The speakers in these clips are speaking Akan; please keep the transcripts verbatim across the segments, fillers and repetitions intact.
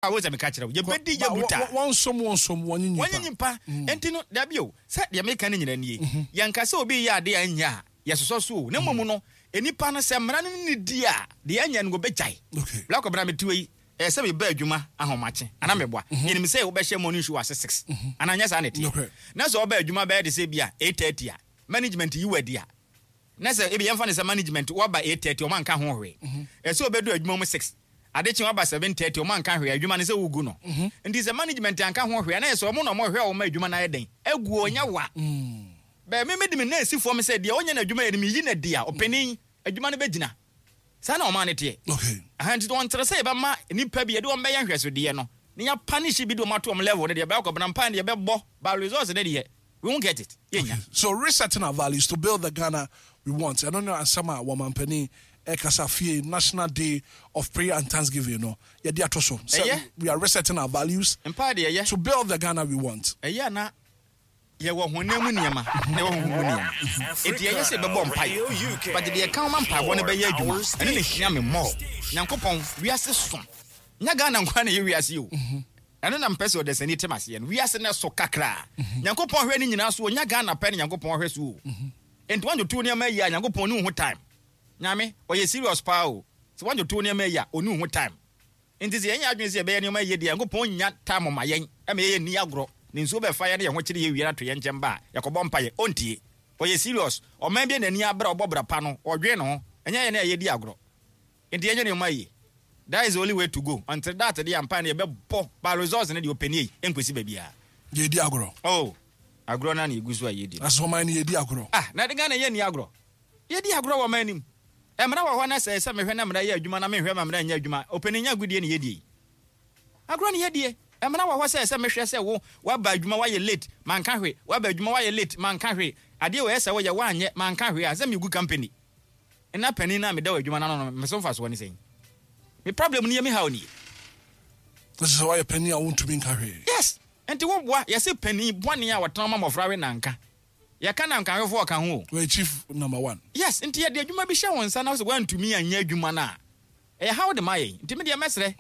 A wo sɛ meka kyerɛ wo, yɛbɛdi yɛ brutal. Wɔnsom wɔnsom wɔnye nyimpa. Wɔnye nyimpa. Enti no, dabi o, sɛ deɛ meka no nyina nie. Yɛnka sɛ obi reyɛ adeɛ a ɛnyɛ a, yɛsosɔ so o. Na mmom no, nnipa no, sɛ mmara no ne no di a, deɛ ɛnyɛ no wɔbɛgyae. Bra kɔbra mete wei, ɛyɛ sɛ meba adwuma ahomakye, anaa meboa? Yɛnim sɛ wobɛhyɛ morning show ase six, anaa nyɛ saa na ɛteɛ? Na sɛ woba adwuma bɛyɛ te sɛ ebia eight thirty a, management yi wo adi a, na sɛ ebia yɛmfa no sɛ management woaba eight thirty, wɔanka ho hwee. Ɛsɛ sɛ wobɛduru adwuma mu six. Ade kye waba seven thirty ɔmo anka hwee adwuma no sɛ wogu no nti sɛ management anka ho hwee a na yɛ sɛ ɔmo na ɔmo hwɛ ɔmo adwuma no ayɛ dɛn agu o ɛnyɛ wa bɛɛ me mede me nan si fam sɛ deɛ ɔnyɛ n'adwuma yɛ no meyi no adi a ɔpanin adwuma no bɛgyina saa na ɔman no teɛ aha nti ɔntere sɛ yɛbɛma nnipa bi yɛde wɔn bɛyɛ nhwɛsodeɛ no na yɛapanish bi de wɔn ato wɔn level no deɛ bɛyɛ akɔbena mpae no yɛbɛbɔ but results no deɛ we won't get it yɛnnya. Okay, so resetting our values to build the Ghana we want ɛno ne asɛm a wɔmampanin ɛkasa fie National Day of Prayer and Thanksgiving no yɛde ato so sɛ Ɛyɛ. we are resetting our values Mpae deɛ ɛyɛ. to build the Ghana we want. Ɛyɛ a na yɛwɔ honam mu nneɛma na yɛwɔ honhom mu nneɛma. Enti ɛyɛ sɛ yɛbɛbɔ mpae. But deɛ ɛka ho ma mpaebɔ no bɛyɛ adwuma, ɛno na ɛhia me more. Nyankopɔn, wiase so. Nyɛ Ghana nko ara na ɛyɛ wiase o. Ɛno na mepɛ sɛ ɔdasani te m'aseɛ no. Wiase no ɛso kakra. Nyankopɔn hwɛ ne nyinaa so o. Nyɛ Ghana pɛ na Nyankopɔn hwɛ so o. Enti woantoto wo nneɛma yie a, Nyankopɔn nni wo ho time. Nyame, ɔyɛ serious paa o. Sɛ woantoto wo nneɛma yie a, ɔnni wo ho time. Enti sɛ yɛnyɛ adwene sɛ yɛbɛyɛ nneɛma yie deɛ a, Nyankopɔn nnya time ma yɛn ma yɛyɛ nni agorɔ. Ne nsuo bɛfa yɛn na yɛn ho kyere yɛn wie na to yɛn nkyɛn ba a, yɛkɔbɔ mpaeɛ. Ɔntie. Ɔyɛ serious. Ɔman bi a n'ani abere a ɔbɔ bra pa no, ɔdwen ne ho. Ɛnyɛ yɛn a yɛdi agorɔ. Enti yɛnyɛ nneɛma yie. That is the only way to go. Until that deɛ mpaeɛ no yɛbɛbɔ but results no deɛ ɔpɛ nie, ɛnkɔsi baabiara. Yɛdi agorɔ. Oh, agorɔ no ara na yɛgu so a yɛdi no. Asɛ ɔman no yɛdi agorɔ. Ah, na Ghana yɛnni agorɔ. Yɛdi agorɔ wɔ ɔman no mu. Mmara wɔ hɔ na sɛ ɛsɛ mehwɛ na mmara yɛ adwuma na menhwɛ ma mmara nyɛ adwuma a, ɔpanin nyɛ agodie na yɛdie yi. Agorɔ na yɛdie. Mmara wɔ hɔ sɛ ɛsɛ mehwɛ sɛ wo, woaba adwuma woayɛ late, manka hwee, woaba adwuma woayɛ late, manka hwee, adeɛ wei ɛsɛ woyɛ woanyɛ, manka hwee a, sɛ megu company. Nna panin no a meda wɔ adwuma no ano no, me so mfasoɔ ne sɛn? Me problem nie, me haw nie. Na kyerɛ sɛ woayɛ panin a wontumi nka hwee. Yes! Nti woboa, yɛse panin bɔne a ɔtena ma mmɔfra we nanka. Yɛka nankawefoɔ ɔka ho o. Ɔyɛ chief number one. Yes, nti yɛde adwuma bi hyɛ wo nsa na wosɛ woantumi anyɛ adwuma no a, ɛyɛ haw de ma yɛn. Nti me deɛ mɛsrɛ,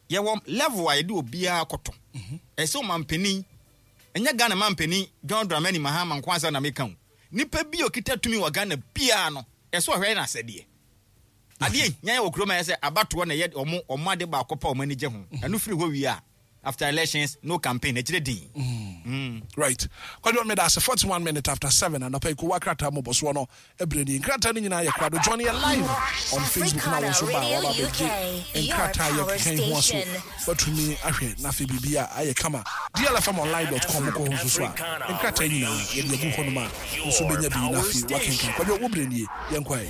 yɛwɔ level a yɛde obiara kɔto. Ɛsɛ sɛ ɔmanpanin, ɛnyɛ Ghana manpanin John Dramani Mahama nko asɛm na meka o. Nipa bi a ɔkita tumi wɔ Ghana biara no, ɛsɛ ɔhwɛ yɛ n'asɛdeɛ. Adeɛ hia yɛ wɔ kurom ayɛ sɛ abatoɔ na ɛyɛ wɔn wɔn ade baako pɛ a wɔn ani gye ho. Ɛno firi hɔ wie a, after elections, no campaign, akyire din. Mm. Right. Kwadwo, meda ase. Forty one minutes after seven anɔpa yi, kowa krataa mmobɔsoɔ no berɛ nie. Nkrataa no nyinaa yɛ krado. Join yɛn live on Facebook na wo nso ba a waba abɛgye nkrataa a yɛkeka yi ho aso. Woatumi ahwɛ na afei biribi a ayɛ kama. D L F M online dot com wokɔ hɔ nso so a, nkrataa yi nyinaa yɛde agu hɔnom a wo nso bɛnya bi na afei woakenkan. Kwadwo, wo berɛ nie. Yɛnkɔ ɛ.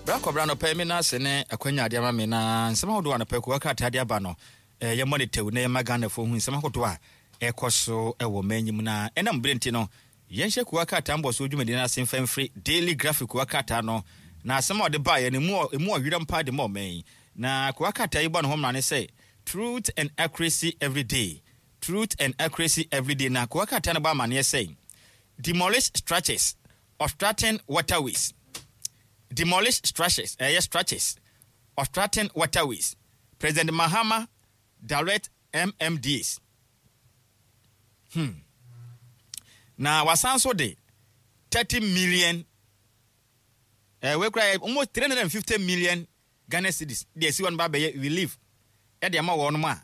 Bra kɔbra anɔpa yi me nan ase ne akwanya ade ama me na nsɛm ahodoɔ anɔpa yi kowa krataa de aba no eh, yɛmmɔ ne tɛw na yɛma Ghanafoɔ hu nsɛm ahodoɔ a ɛkɔ so wɔ man yi mu na ɛnam berɛ nti no yɛnhyɛ kowa krataa mbɔsoɔ dwumadi no ase mfa mfiri Daily Graphic kowa krataa no na asɛm a ɔde baeɛ no emu emu ɔwerɛm paa de ma ɔman yi na kowa krataa yi bɔ ne ho mmara ne sɛ "Truth and Accuracy Everyday". Truth and Accuracy Everyday na kowa krataa no bɔ amanneɛ sɛ demolish structures obstructing waterways, demolish structures, ɛyɛ structures obstructing waterways, President Mahama direct M M D As. hmm na wasan so de thirty million ɛɛ wei kura almost three hundred and fifty million Ghana cedis de asi wɔn ba bɛyɛ relief ɛde ama wɔn a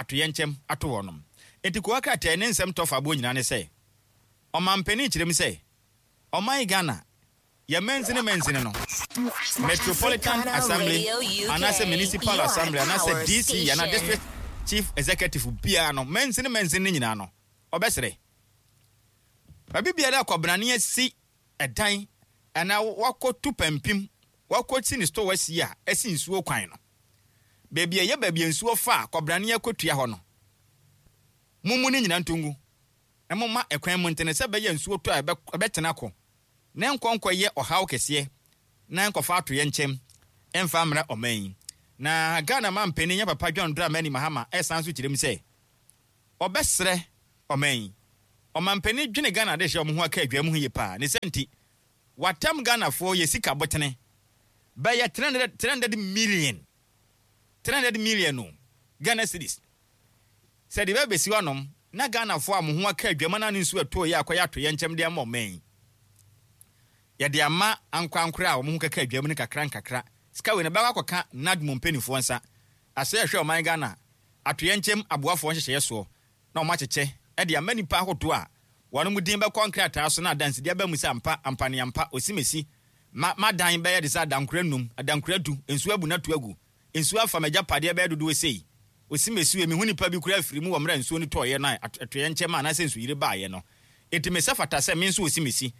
atoyɛnkyɛm ato wɔn. Eti kowa krataa ne nsɛm tɔfa aboɔ nyinaa ne sɛ ɔmampanin kyerɛ mu sɛ ɔman Ghana yɛ mansini mansini no, Metropolitan Assembly anaasɛ Municipal Assembly anaasɛ D C anaa District Chief Executive biara no, mansini mansini no nyinaa no, ɔbɛsrɛ baabi biara akɔbenane asi ɛdan anaa wakɔtu pampim wakɔsi ne store asi a ɛsi nsuo kwan no, baabi a ɛyɛ baabi a nsuo fa a kɔbrane akɔtua hɔ no, mommu ne nyinaa nto ngu na momma ɛkwan mu ntene sɛ ɛbɛyɛ nsuo tɔ a ɛbɛtena kɔ na nkɔ nkɔyɛ ɔhaw kɛseɛ na nkɔfa atoyɛ nkyɛm ɛmfa mmra ɔman yi. Na Ghana mampanin yɛ papa John Dramani Mahama ɛsan so kyerɛ mu sɛ ɔbɛsrɛ ɔman yi Ɔmampanin dwene Ghana de hyɛ ɔmo ho aka adwa mu ho yie paa ne sɛ nti watam Ghanafoɔ yɛ sika bɔtene bɛyɛ three hundred million three hundred million o Ghana cedis sɛ de bɛbɛsi hɔnom na Ghanafoɔ a mo ho aka adwama no ne nsuo ɛtoo yɛ akɔyɛ ato yɛn nkyɛm de ama ɔman yi, yɛde ama ankorankora a wɔn ho kaka adwam no kakra nkakra. Sika wei no bɛkɔ akɔka NADMO mpanimfoɔ nsa asɛ ɛhwɛ ɔman Ghana atoyɛ nkyɛm aboafoɔ nhyehyɛeɛ soɔ na wɔn akyekyɛ ɛde ama nipa ahodoɔ a wɔn mu din bɛkɔ nkrataa so na adansidie aba mu sɛ ampa ampaneampa osimesi ma madan bɛyɛ de sɛ adankora num, adankora du, nsuo abu n'ato agu, nsuo afa m'agyapadeɛ bɛyɛ dodoɔ sei, osimesi wei mehu nipa bi kura afiri mu wɔ mmerɛ nsuo no tɔɔyɛ no a atoyɛ nkyɛm a anaasɛ nsuyiri baayɛ no, enti mesɛ fata sɛ me nso osimesi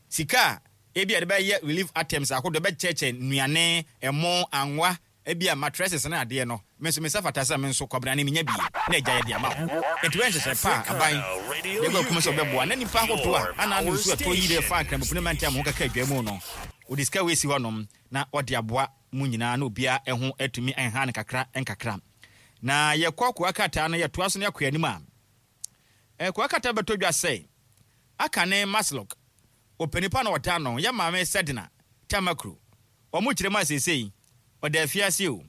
sika a ebi a yɛde bɛyɛ relief items ahodoɔ bɛkyɛkyɛ nnuane, ɛmo, anwa, ebi a mattresses ne adeɛ no, me nso mesɛ fata sɛ me nso kɔbrane menya bie na agya yɛ de ama wo. Enti wɔyɛ nhyehyɛ pa a aban de gu akum sɛ ɔbɛboa na nipa ahodoɔ a ana no nsuo ɛtɔ yi de fa nkramopene mante a mo ho kaka adwa mu no, wɔde sika wei si hɔnom na ɔde aboa mu nyinaa na obiara ɛho atumi ɛnha no kakra nkakra. Na yɛkɔ koa krataa no yɛtoa so ne akɔ anim a koa krataa bɛtɔ dwa sɛ aka ne MASLOC ɔpanipa na ɔda no yɛ maame Sedina Tamakloe wɔn kyerɛ mu a seesei ɔda afiase o,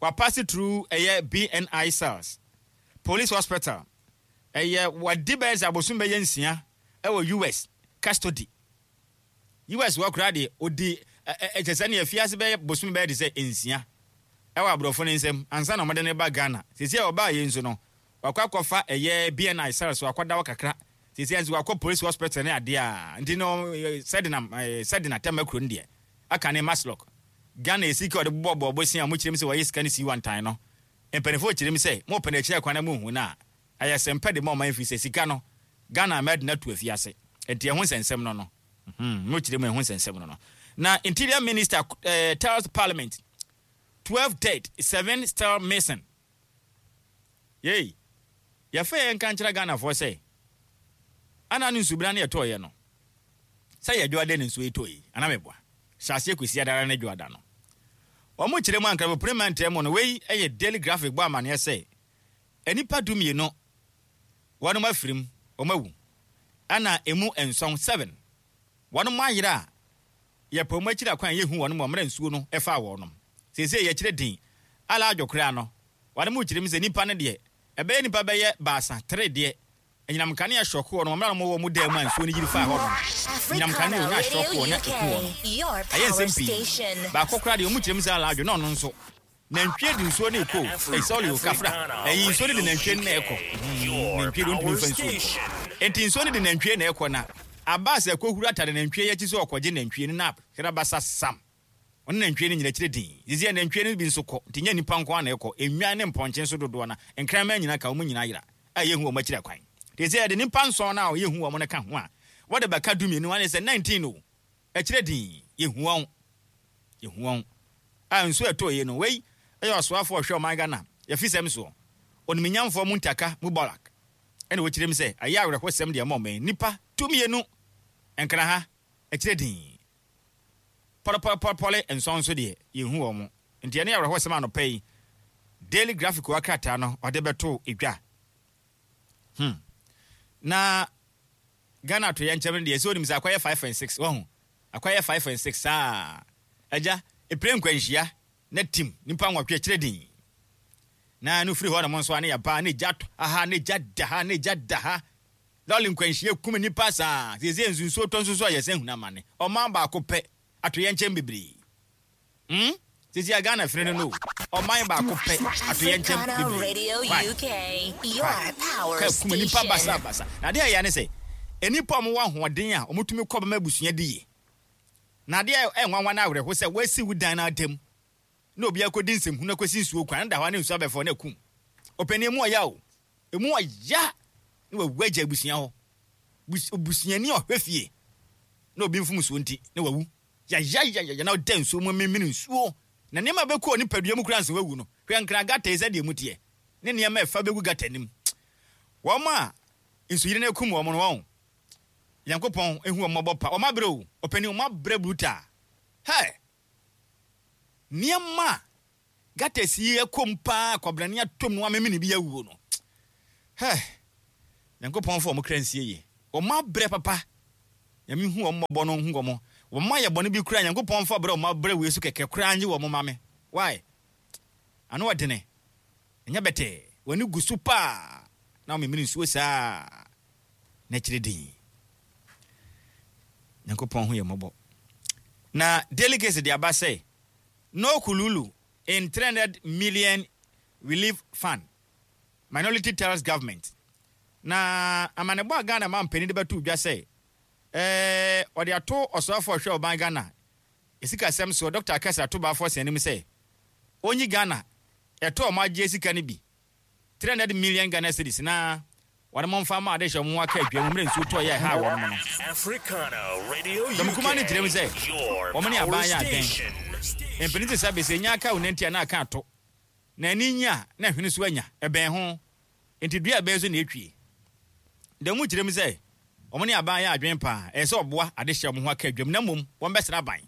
wapass through ɛyɛ B N I cells, police hospital, ɛyɛ wadi bɛyɛ sɛ abosom bɛyɛ nsia ɛwɔ U S custody. U S wɔ koraa deɛ ɔdi ɛkyɛ sɛ ne afiase bɛyɛ bosom bɛyɛ de sɛ nsia ɛwɔ aborɔfo ne nsam ansa na ɔmɔde ne ba Ghana. Seesei a ɔbaa yɛ nso no wakɔ akɔfa ɛyɛ B N I cells, wakɔda hɔ kakra. Seesei nso wakɔ police hospital ne adeɛ a nti no Sedina Sedina Tamakloe no deɛ aka ne MASLOC Ghana esi ka ɔde bobɔ bɔɔbɔ a mo kyerɛ mu sɛ wɔyɛ sika no si wantan no, mpanimfoɔ kyerɛ mu sɛ mo pɛ n'akyiri akwan na mo hu no a ɛyɛ sɛmpɛ de ma ɔman fi sɛ sika no Ghana mɛde no ato afiase. Nti ɛho nsɛnsɛm no no mo kyerɛ mu ɛho nsɛnsɛm no no na Interior Minister uh, tells Parliament twelve dead, seven still missing. Yei yɛfɛ yɛn nka nkyerɛ Ghanafoɔ sɛ ana ne nsubena ne yɛtɔɔyɛ no sɛ yɛ dwoada ne nsuo yi tɔ yi ana meboa hyɛ aseɛ kɔsi adara ne dwoada no wɔn kyerɛ mu ankrabopere mmantam mu no. Wei yɛ Daily Graphic bɔ amanneɛ sɛ nnipa du mmienu wɔn afirim, wɔn awu, ɛna emu nson, seven, wɔn ayera a yɛpɛ wɔn akyiri akwan yɛhu wɔn wɔ mmerɛ nsuo no ɛfa wɔn. Seesei yɛkyerɛ din ala adwo koraa no wɔn mu kyerɛ mu sɛ nipa no deɛ ɛbɛyɛ nipa bɛyɛ baasa tere deɛ anyinam kanea shock wɔ no mmerɛ a wɔwɔ mu dan mu a nsuo no yiri faa hɔ no, anyinam kanea onya shock wɔ na eku wɔ no. Ɛyɛ nsɛm pii. Baako koraa deɛ ɔmu kyerɛ mu sɛ ala adwo na ɔno nso nantwie de nsuo no ekɔ ɛyi sɔɔli o kafra ɛyi nsuo no de nantwie no na ɛkɔ. Nantwie de ntumi nfa nsuo nkɔ, nti nsuo no de nantwie na ɛkɔ na abaasa ɛkɔ atade nantwie yɛ akyi sɛ ɔkɔgye nantwie no na hera basa sam ɔne nantwie no nyina kyerɛ din sisi nantwie no bi nso kɔ. Nti nyɛ nipa nko ana ɛkɔ, enwan ne mpɔnkye nso dodoɔ na nkraman nyina ka wɔn nyinaa yera a yɛhu wɔn akyiri akwan. Te sɛ yɛde nipa nson na yɛhu wɔn no ka ho a wɔde bɛka du mmienu ane sɛ nineteen o ɛkyerɛ din yɛhu wɔn yɛhu wɔn a nsuo ɛtɔ yie no. Wei ɛyɛ ɔsoafoɔ ɔhwɛ ɔman Ghana yɛfi sɛm soɔ, oniminyamfoɔ Muntaka Mubarak, ɛna wɔkyerɛ mu sɛ ɛyɛ awerɛhosɛm deɛ ɛma ɔman nipa tu mmienu nkra ha ɛkyerɛ din pɔlɔpɔlɔpɔlɔ nson nso deɛ yɛhu wɔn. Nti ɛne awerɛhosɛm anɔpa yi Daily Graphic wɔ krataa no ɔde bɛto edwa hmm na Ghana to yɛn nkyɛn no deɛ sɛ onim sɛ akɔyɛ five and six wɔho akɔyɛ five and six saa agya epire nkwanhyia na tim nipa nwɔtwe akyerɛ din na no firi hɔ nom nso a ne yɛba ne gya tɔ aha ne gya da ha ne gya da ha lɔɔre nkwanhyia kum nipa saa. Siesie nsunsuo tɔ nso so a yɛsɛn hunu amane. Ɔman baako pɛ ato yɛn nkyɛn bebree hmm siesie a Ghana firi no no ɔman baako pɛ ato yɛn nkyɛn bebree ka kum nipa basa basa. Na adeɛ a ɛyɛ ne sɛ nipa a wɔwɔ ahoɔden a wɔtumi kɔ bɛma abusua di yie na adeɛ a ɛnwanwa no awerɛho sɛ wɔasi wo dan no atam na obi akɔdi nsɛmhunu akɔsi nsuo kwan da hɔ ne nsuo abɛfɔ na akum ɔpanin mu ɔya o emu ɔya na wawu agya abusua hɔ, busuani a ɔhwɛ fie na obi mfom nsuo nti na wawu yayayaya na ɔda nsuo mu memene nsuo na nneɛma bɛkɔ nipadua mu kura nso wawu no. Hwɛ nkran gutter yi sɛdeɛ mu teɛ ne nneɛma ɛfa bɛgu gutter nim. Wɔn a nsuyiri no akum wɔn no, wɔn Nyankopɔn ehu wɔn mmɔbɔ pa. Wɔn abrɛ o, ɔpanin, wɔn abrɛ brutal. Hɛ nneɛma a gutters yi ɛkɔm paa kɔbrane atom no amemene bi awuo no. Hɛ Nyankopɔn fa ɔmo kra nsie yie. Ɔmo abrɛ papa. Nyame hu ɔmo mmɔbɔ no hu ɔmo. Ɔmo ayɛ bɔne bi kura, Nyankopɔn fa brɛ ɔmo abrɛ wei so kɛkɛ koraa nye wɔn ma me. Why? Ano ɔdene. Ɛnyɛ bɛtɛɛ. W'ani gu so paa. Na ɔmemene nsuo saa. Na akyire din. Nyankopɔn ho yɛ mmɔbɔ. Na delegates de aba sɛ no kululu in three hundred million relief fund, minority tells government. Na amanebɔ a Ghana ma mpanin de bɛto dwa sɛ ɛɛ ɔde ato ɔsoafo a ɔhwɛ ɔban Ghana esikasɛm so, Doctor Cassiel Ato Baah Forson anim sɛ onyi Ghana ɛtɔ ɔmo agye sika no bi, three hundred million Ghana cedis, na wɔn mo nfa ma ade hyɛ ɔmo aka adwa mu mmerɛ nsuo tɔ yɛ ɛha wɔn no. Africana Radio Dɔm kuma no kyerɛ mu sɛ Your wɔn ne power aban yɛ adwene. station. Mpanin te sɛ abɛsɛ nya aka wo nanti a na aka ato na ani nya na hwene so anya ɛbɛn ho nti dua ɛbɛn so na etwie. Dɛm mu kyerɛ mu sɛ wɔn ne aban yɛ adwene paa, ɛyɛ sɛ ɔboa ade hyɛ wɔn ho aka adwam, na mmom wɔn bɛsra aban.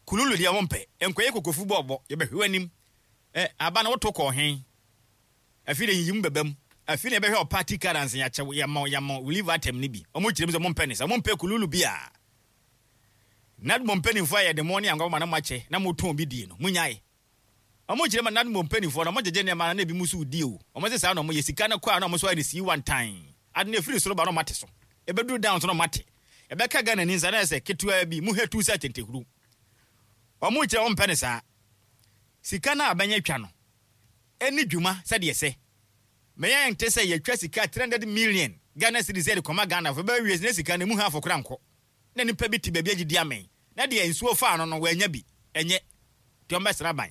Kululu deɛ wɔn mpɛ nkɔyɛ kokofu bɔɔbɔ yɛbɛhwɛ anim ɛ aba na wɔto kɔɔ hen. Afi de yiyi mu bɛbɛ mu afi na yɛbɛhwɛ ɔparty currency yɛakyɛw yɛmɔ yɛmɔ relief item ne bi. Wɔn kyerɛ mu sɛ wɔn mpɛ ne sɛ wɔn mpɛ kululu bi a NADMO mpanimfoɔ a yɛde mo ne anwa ma na mo akyɛ na mo tɔn bi die no mo nyae. Ɔmo kyerɛ ma NADMO mpanimfoɔ no ɔmo gyegye nneɛma na ebi mu so di o. Ɔmo sɛ saa na ɔmo yɛ sika no kɔ a na ɔmo so ayɛ ne sii one time ade na efiri soro ba na ɔmo ate so ebeduru down so na ɔmo ate ɛbɛka Ghana ni nsa na ɛsɛ ketewa bi mu hɛtu sɛ tentehuru. Ɔmo kyerɛ ɔmo mpɛ ne saa sika no a abɛnyɛ twa no ɛni dwuma sɛdeɛ sɛ mɛyɛ nte sɛ yɛtwa sika three hundred million Ghana cedis yɛde kɔma Ghana fo bɛyɛ wie ne sika no emu ha afɔ kora nkɔ na nipa bi te baabi agyidi amɛn na deɛ nsuo faa no no wɔanya bi ɛnyɛ nti ɔmo bɛsra ban.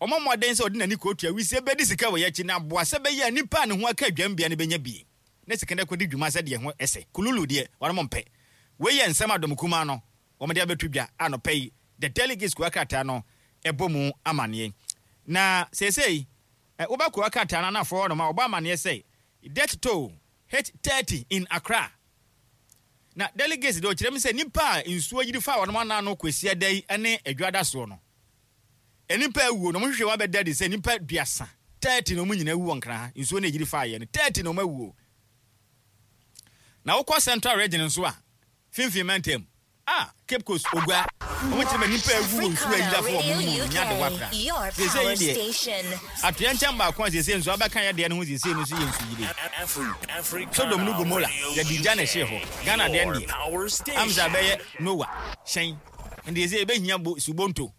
Ɔmo mmɔden sɛ ɔde n'ani kootua wisie bɛdi sika wɔ yɛakyi na aboa sɛ bɛyɛ a nipa a ne ho aka adwambea no bɛnya bie na sika no akɔdi dwuma sɛdeɛ ho ɛsɛ. Kululu deɛ wɔn mo mpɛ. Wei yɛ nsɛm adɔm kumaa no wɔn de abɛto dwa anɔpɛ yi. The Delegates kua krataa no ɛbɔ mu amanneɛ na seesei ɛ wobɛ kua krataa no anafoɔ hɔ nom a wɔbɔ amanneɛ sɛ death toll hit thirty in Accra. Na delegates de ɔkyerɛ mu sɛ nipa a nsuo yiri fa wɔn anan no kɔsi ada yi ne adwada soɔ no, nipa awuo na wɔn hwehwɛ wɔn abɛda de sɛ nipa duasa, thirty, na wɔn nyinaa awu wɔ Nkran ha. Nsuo no yiri fa yɛ no, thirty na wɔn awuo. Na wokɔ Central Region nso a, finfin mantam a Cape Coast Ogua, wɔn kyerɛ ma nipa awu wɔ nsuo ayiri afɔ wɔn mu nya de wakra. Your sese power yi deɛ station. Atoyɛ nkyɛn baako a sese nso abɛka yɛ deɛ no ho sese no nso yɛ nsu yire. Sodom ne Gomora yɛde gya na ɛhyee hɔ. Ghana deɛ no deɛ amsa bɛyɛ Noa hyɛn nti sɛ yɛbɛhia bo subonto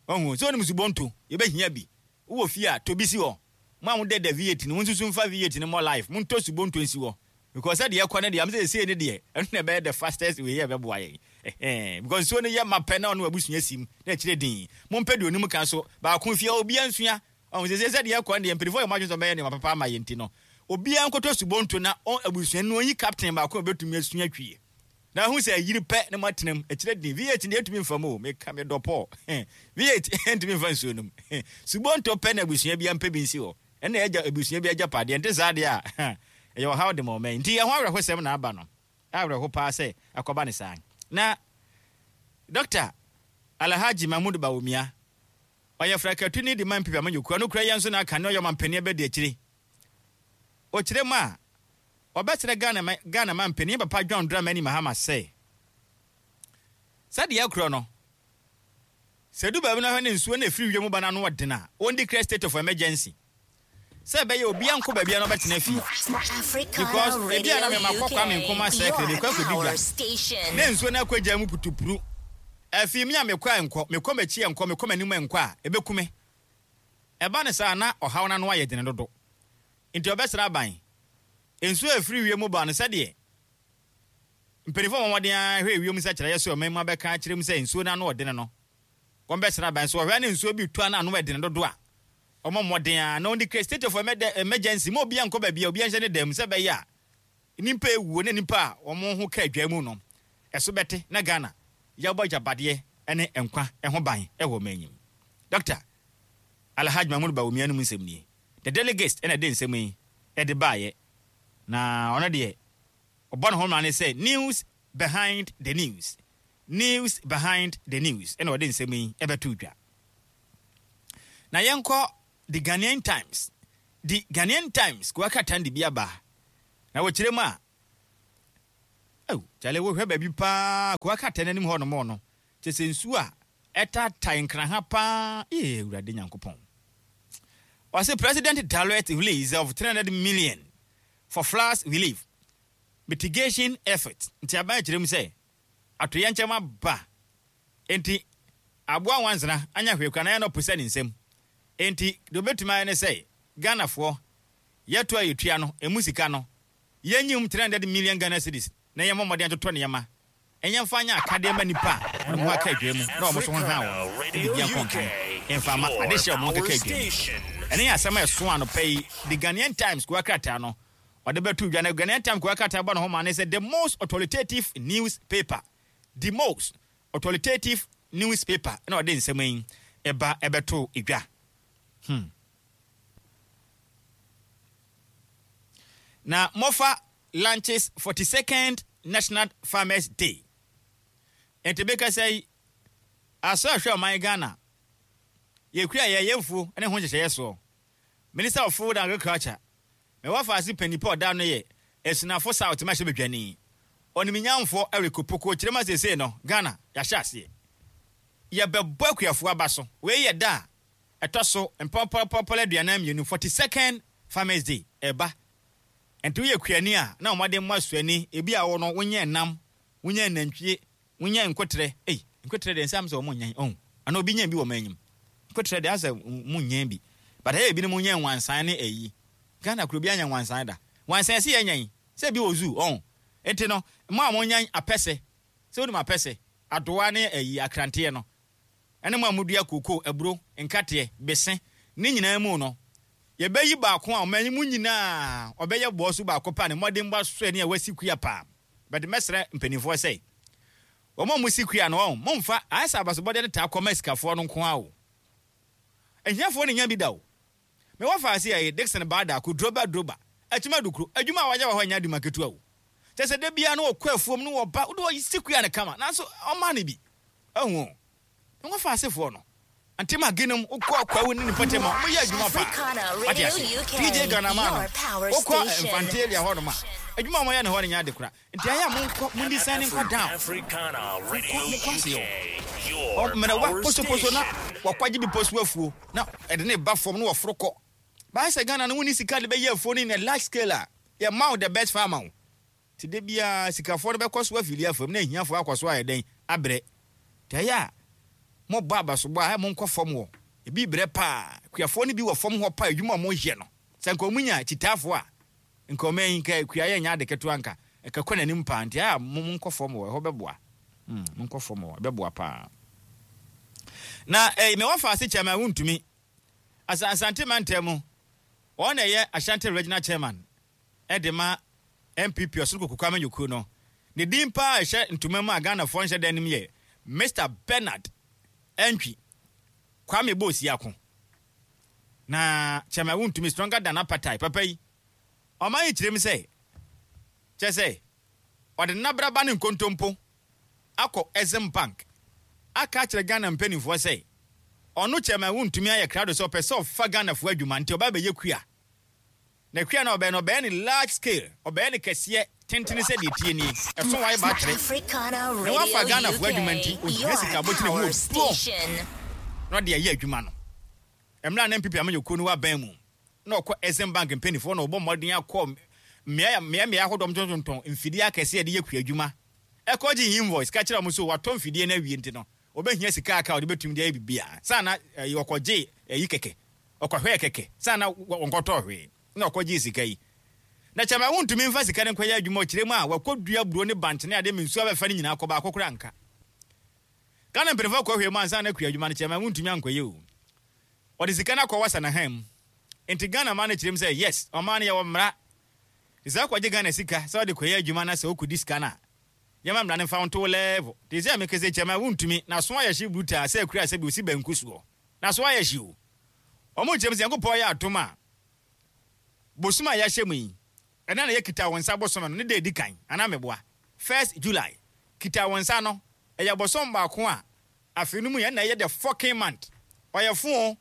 ɔhu sɛ onim subonto yɛbɛhia bi. Wowɔ fie a tobi si hɔ mo a modɛ da V eight no mo nso so mfa V eight no mmɔ life montɔ subonto nsi hɔ because sɛdeɛ ɛkɔ no deɛ am sɛ ɛsei no deɛ ɛno na ɛbɛyɛ the fastest way yɛ ɛbɛboa yɛn. Ɛhɛn, because nsuo no yɛ ma pɛ na ɔno abusua sim na ɛkyerɛ din mompɛ deɛ onim ka so baako fie obiara nsua ɔhu sɛ sɛdeɛ ɛkɔ no deɛ mpanimfoɔ yɛ mo adwene sɛ ɔbɛyɛ nneɛma papa ama yɛn nti no obiara nkɔtɔ subonto na ɔn abusua no ɔnyi captain baako a obɛtumi asua twie na ahu sɛ ayiri pɛ na moatena mu ɛkyerɛ din V eight deɛ ɛtumi mfa mu o. Meka medɔ Paul V eight ntumi mfa nsuo no mu. Subonto pɛ na abusua bi ampɛ bi nsi hɔ ɛna ɛgya abusua bi agyapadeɛ nte saa deɛ a ɛyɛ ɔhaw de ma ɔman nti ɛho awerɛhosɛm na aba no. Awerɛho paa sɛ akɔba ne saa. Na Doctor Alhaji Mahmud Bawumia ɔyɛ frakatuni de ma N P P amanyɔkuo no kura yɛn nso na aka ne ɔyɛ ɔmampanin bɛdi akyire. Ɔkyerɛ mu a ɔbɛsrɛ Ghana ma Ghana ma mpanin papa John Dramani Mahama sɛ sɛdeɛ ɛkorɔ no sɛ du baabi no hwɛ ne nsuo no ɛfiri wiem ba no ano ɔden a ɔn declare state of emergency sɛ ɛbɛyɛ obiara nkɔ baabi a na ɔbɛtena fie because ebi a na mema kɔ Kwame Nkrumah Circle de kɔ akɔdi dwa na nsuo no akɔgya mu putupuru afei mi a mekɔ a nkɔ mekɔ m'akyi a nkɔ mekɔ m'anim a nkɔ a ɛbɛku me. Ɛba ne saa na ɔhaw no ano ayɛ dene dodo nti ɔbɛsrɛ aban nsuo a ɛfiri wiem ba no sɛdeɛ mpanimfoɔ a wɔn ara hwɛ wiem sɛ so ɔman mu abɛka akyerɛ mu sɛ nsuo no ano ɔdene no wɔn bɛsrɛ aban so ɔhwɛ ne nsuo bi tu a na ano ɛdene dodo a ɔmɔ mmɔden a na ɔn declare state of emergency ma obiara nkɔ baabi a obiara nhyɛ ne dan mu sɛ bɛyɛ a nipa ewuo ne nipa a wɔn ho ka adwa mu no ɛso bɛte na Ghana yɛbɔ agyapadeɛ ne nkwa ho ban ɛwɔ ɔman anim. Doctor Alhaji Mahmud Bawumia no mu nsɛm nie. The Delegates ɛna ɛde nsɛm yi ɛde baayɛ na ɔno deɛ ɔbɔ ne ho mmara ne sɛ news behind the news, news behind the news ɛna ɔde nsɛm yi ɛbɛto dwa. Na yɛnkɔ The Ghanaian Times. The Ghanaian Times kò akata de bi aba. Na wɔkyerɛ mu a, oh, kyale wohwɛ baabi paa kowa krataa no anim hɔ nom no, kyɛ sɛ nsuo a ɛtaataa Nkraha paa. Ee, Awurade Nyankopɔn. Ɔsɛ President direct release of three hundred million for floods relief mitigation effort. Nti aban kyerɛ mu sɛ atoyɛnkyɛm aba, nti aboa wansena anya hwee kora na yɛ no ɔpo sɛ ne nsam. Nti deɛ obɛtumi ayɛ ne sɛ Ghanafoɔ yɛto a yɛtua no emu sika no, yɛnyim three hundred million Ghana cedis na yɛmmɔ mmɔden atotɔ nneɛma, ɛnyɛ mfa nyɛ akadeɛ ma nipa a wɔn ho aka adwa mu na wɔn so ho ha wɔn no, ebi bia nkɔnkan mfa ma ade hyɛ wɔn keka adwa mu. Ɛne yɛ asɛm a ɛso anɔpa yi The Ghanaian Times kuwa krataa no ɔde bɛto dwa. Na Ghanaian Times kuwa krataa bɔ ne ho ma ne sɛ the most authoritative newspaper, the most authoritative newspaper, na ɔde nsɛm yi ɛba ɛbɛto dwa hmm. Na MOFA launches forty-second National Farmers Day. Nti bɛkasa yi asɔ ahwɛ ɔman Ghana yɛkura yɛyɛ mfuo ne ho nhyehyɛeɛ soɔ. Minister of Food and Agriculture, mɛwɔ faase panyipa ɔda no yɛ Asunafo South ma hyɛ badwani ɔnimnyamfoɔ Eric Opoku kyerɛ ma seesei no Ghana yɛahyɛ aseɛ yɛbɛbɔ akuafoɔ aba so. Wei yɛ da a ɛtɔ so mpɔmpɔmpɔmpɔ aduanan mmienu, forty second Farmers Day ɛba. Nti woyɛ kuani a na wɔde mmɔ asuani ebi a wɔ no wonyɛ nam, wonyɛ nantwie, wonyɛ nkotrɛ. Ei, nkotrɛ deɛ nsɛm sɛ wɔn nyɛn ɔn ana obi nyɛn bi wɔ wɔn anim. Nkotrɛ deɛ asɛ mu nyɛn bi, but ɛyɛ ebinom nyɛn nwansan ne ɛyi. Ghana kuro bi anya nwansan da. Nwansan ɛsi yɛ nyɛn sɛ bi wɔ zoo ɔn. Nti no mo a mo nyɛn apɛsɛ sɛ wonim apɛsɛ adoa ne ɛyi akranteɛ no, ɛne mo a modua koko, aburo, nkateɛ, bese ne nyinaa mu no, yɛbɛyi baako a ɔman yi mu nyinaa ɔbɛyɛ bɔɔ so baako pa ne mmɔden bɔ so ani a wasi kua paa. Bɛde mɛsrɛ mpanimfoɔ sɛ wɔn a wɔsi kua no wɔn momfa ayɛ sɛ abasobɔdeɛ no taa kɔma sikafoɔ no nko ara o. Ahiafoɔ no nya bi da o. Mewɔ faase yɛ Dickson Baadaako Droba Droba Akyima Dukuro adwuma a wayɛ wɔ hɔ nyɛ adwuma ketewa o. Kyɛ sɛ da biara no wɔkɔ afuom no wɔba wode wɔsi kua no kama, nanso ɔma no bi ahu o. Mewɔ faasefoɔ no ntem agenom wokɔ Kwawu ne nipa tɛm a wɔyɛ adwuma paa, wate ase. P J Ghanama no wokɔ Mfante area hɔ nom a, adwuma a wɔyɛ no hɔ no nyɛ ade kora. Nti ayɛ a monkɔ mondi sane nkɔ down, monkɔ monkɔ ase o mmerɛwa posoposo na wɔkwagye bi poso afuo na ɛde ne ba fam na wɔforo kɔ. Baayɛ sɛ Ghana no wonni sika de bɛyɛ afuo no in a large scale a yɛma wo the best farmer o. Nti de biara sikafoɔ no bɛkɔ so afili afam na ahiafoɔ akɔ so ayɛ dɛn abrɛ. Nti ɛyɛ a mobɔ abasobɔ a, monkɔ fam wɔ ebi brɛ paa. Kuafoɔ no bi wɔ fam hɔ paa. Adwuma a wɔyɛ no sɛ nka ɔmo nya kyitaafoɔ a, nka ɔmo yi nka kua yɛ nya ade ketewa nka ɛka kɔ n'anim paa. Nti ɛyɛ a monkɔ fam wɔ ɛhɔ bɛboa hmm monkɔ fam wɔ ɛbɛboa paa. Na ɛyi mɛ wɔfa ase Chairman Wontumi asa Asante mantam mu, wɔn na ɛyɛ Ashanti Regional Chairman ɛde ma N P P ɔsoro koko amanyɔkuo no. Ne din paa ɛhyɛ ntoma mu a Ghanafoɔ nhyɛ dan nim yɛ Mister Bernard Ɛntwi Kwame Boosiako. Na Chairman Wontumi, stronger than apartheid papa yi, ɔman yi kyerɛ mu sɛ kyɛ sɛ ɔde nabraba ne nkontompo akɔ Exim Bank aka akyerɛ Ghana mpanimfoɔ sɛ ɔno Chairman Wontumi ayɛ krado sɛ ɔpɛ sɛ ɔfa Ghanafoɔ adwuma, nti ɔba bɛyɛ kua. Na kua no ɔbɛyɛ no, ɔbɛyɛ ne large scale, ɔbɛyɛ ne kɛseɛ tentene sɛ deɛ tie nie ɛso wae ba kyerɛ na wafa Ghanafoɔ adwuma. Nti ohia sika abɔtene mu obuo na ɔde ayɛ adwuma no. Mmerɛ a na N P P amanyɔkuo no wɔ aban mu na ɔkɔ Exim Bank mpanimfoɔ na ɔbɔ mmɔden akɔ mmea mmea mmea ahodoɔ tontɔn mfidie akɛseɛ yɛde yɛ kua adwuma, ɛkɔgye invoice ka kyerɛ wɔn so watɔ mfidie no awie. Nti no ɔbɛhia sika aka a ɔde bɛtumi de ayɛ biribiara saa na ɛyi ɔkɔgye ɛyi kɛkɛ, ɔkɔhwɛɛ kɛkɛ saa na wɔnkɔtɔɔ hwee na ɔkɔgye sika yi. Na Chairman Wontumi mfa sika no nkɔyɛ adwuma. Ɔkyerɛ mu a wakɔdua buro ne bankye ne adeɛ ma nsuo abɛfa no nyinaa kɔ, baako koraa nka. Ghana mpanimfoɔ kɔhwɛ mu ansa na kua adwuma no, Chairman Wontumi ankɔyɛ o. Ɔde sika no akɔ wasa n'ahan mu. Nti Ghana ma no kyerɛ mu sɛ yes, ɔman no yɛwɔ mmara te sɛ akɔgye Ghana sika sɛ ɔde kɔyɛ adwuma na sɛ wokɔdi sika no a, yɛma mmara no mfa wo nto wo level. Te sɛ meka sɛ Chairman Wontumi na so ayɛ hye brutaa sɛ akura sɛ bi osi banku soɔ na so ayɛ hye o. Ɔmo kyerɛ mu sɛ Nyankopɔn yɛ atom a, bosom a yɛahyɛ mu yi ɛna na yɛkita wo nsa bosom no ne da edi kan anaa meboa, first July kita wo nsa no, ɛyɛ bosom baako a afei no mu yɛn na ɛyɛ the fucking month. Ɔyɛ fo o.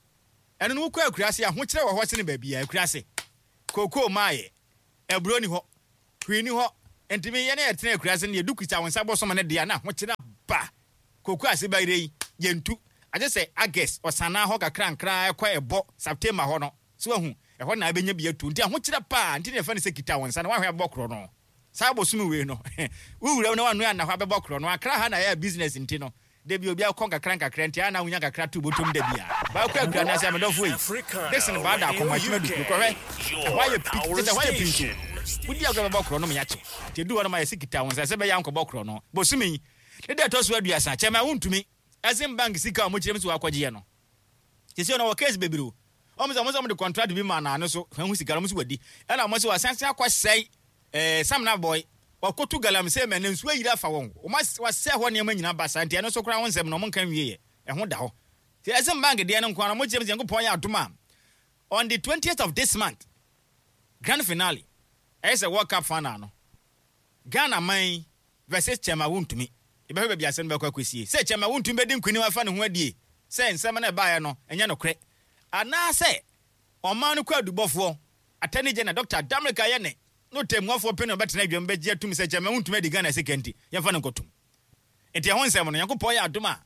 Ɛno no wokɔ akuraase, ahokyerɛ wɔ hɔ sene baabi a akuraase kookoo maayɛ aburo ni hɔ. Hwee ni hɔ. Ntumi yɛne yɛtena akura se no, yɛdu kuta wo nsa bɔsɔm no deɛ na ahokyerɛ ba. Koko ase ba yere yi, yɛntu. Agye sɛ August, ɔsanaa hɔ kakra nkra ɛkɔ ɛbɔ September hɔ no. So wahu, ɛhɔ na abɛnya bi atu. Nti ahokyerɛ paa, nti na yɛfɛ no sɛ kita wo nsa na wahwɛ abɔ korɔ no. Saa bosome wei no, wowura mu na wanoa anna hɔ abɛbɔ korɔ no. Akra ha na ɛyɛ business nti no, da bi obi akɔ nkakra nkakra nti ana wonya kakra to bɔtɔm da bi a. Baako akura na sɛ amedɔfo yi, Dixon baa da akɔmɔ akyima du kɔhwɛ. Ɛhɔ ayɛ pi, kyɛ sɛ ɛhɔ ayɛ pinto. Wodi agorɔ bɛbɔ korɔ no ma yɛakye. Nti edu hɔ no ma yɛsi kita wo nsa sɛ bɛyɛ ankɔbɔ korɔ no. Bosome yi, ne da ɛtɔ so aduasa, kyɛma wontumi. Exim Bank sika a ɔmo kyerɛ mu sɛ wakɔgyeɛ no. Sisi ɔno wɔ case bebree o. Ɔmo sɛ ɔmo sɛ ɔmo de contract bi ma naano so hwɛ ho sika no ɔmo sɛ wadi. Ɛna ɔmo sɛ wasan akɔsɛe ɛɛ Samina boy. Wakɔtu galamsey mɛ ne nsuo ayiri afa wɔn. Ɔmo wasɛe hɔ nneɛma nyinaa ba saa nti ɛno nso koraa ho nsɛm no ɔmo nka nwie yɛ. Ɛho da hɔ. Nti Exim Bank deɛ no nko ara ɔmo kyerɛ mu sɛ Nyankopɔn yɛ adom a on the twentieth of this month, grand finale, ɛyɛ sɛ World Cup final no, Ghana man versus Chairman Wontumi. Yɛbɛhwɛ baabi asɛm no bɛkɔ akɔsie. Sɛ Chairman Wontumi bɛdi nkonim afa ne ho adie sɛ nsɛm no ɛbaeɛ no ɛnyɛ nokorɛ, anaasɛ ɔman no kɔ adubɔfoɔ Attorney General Doctor Damerika yɛ ne no tɛmmuafoɔ pɛ na ɔbɛtena adwam bɛgye atum sɛ Chairman Wontumi adi Ghana sika nti yɛmfa no nkɔtom. Nti ɛho nsɛm no Nyankopɔn yɛ adom a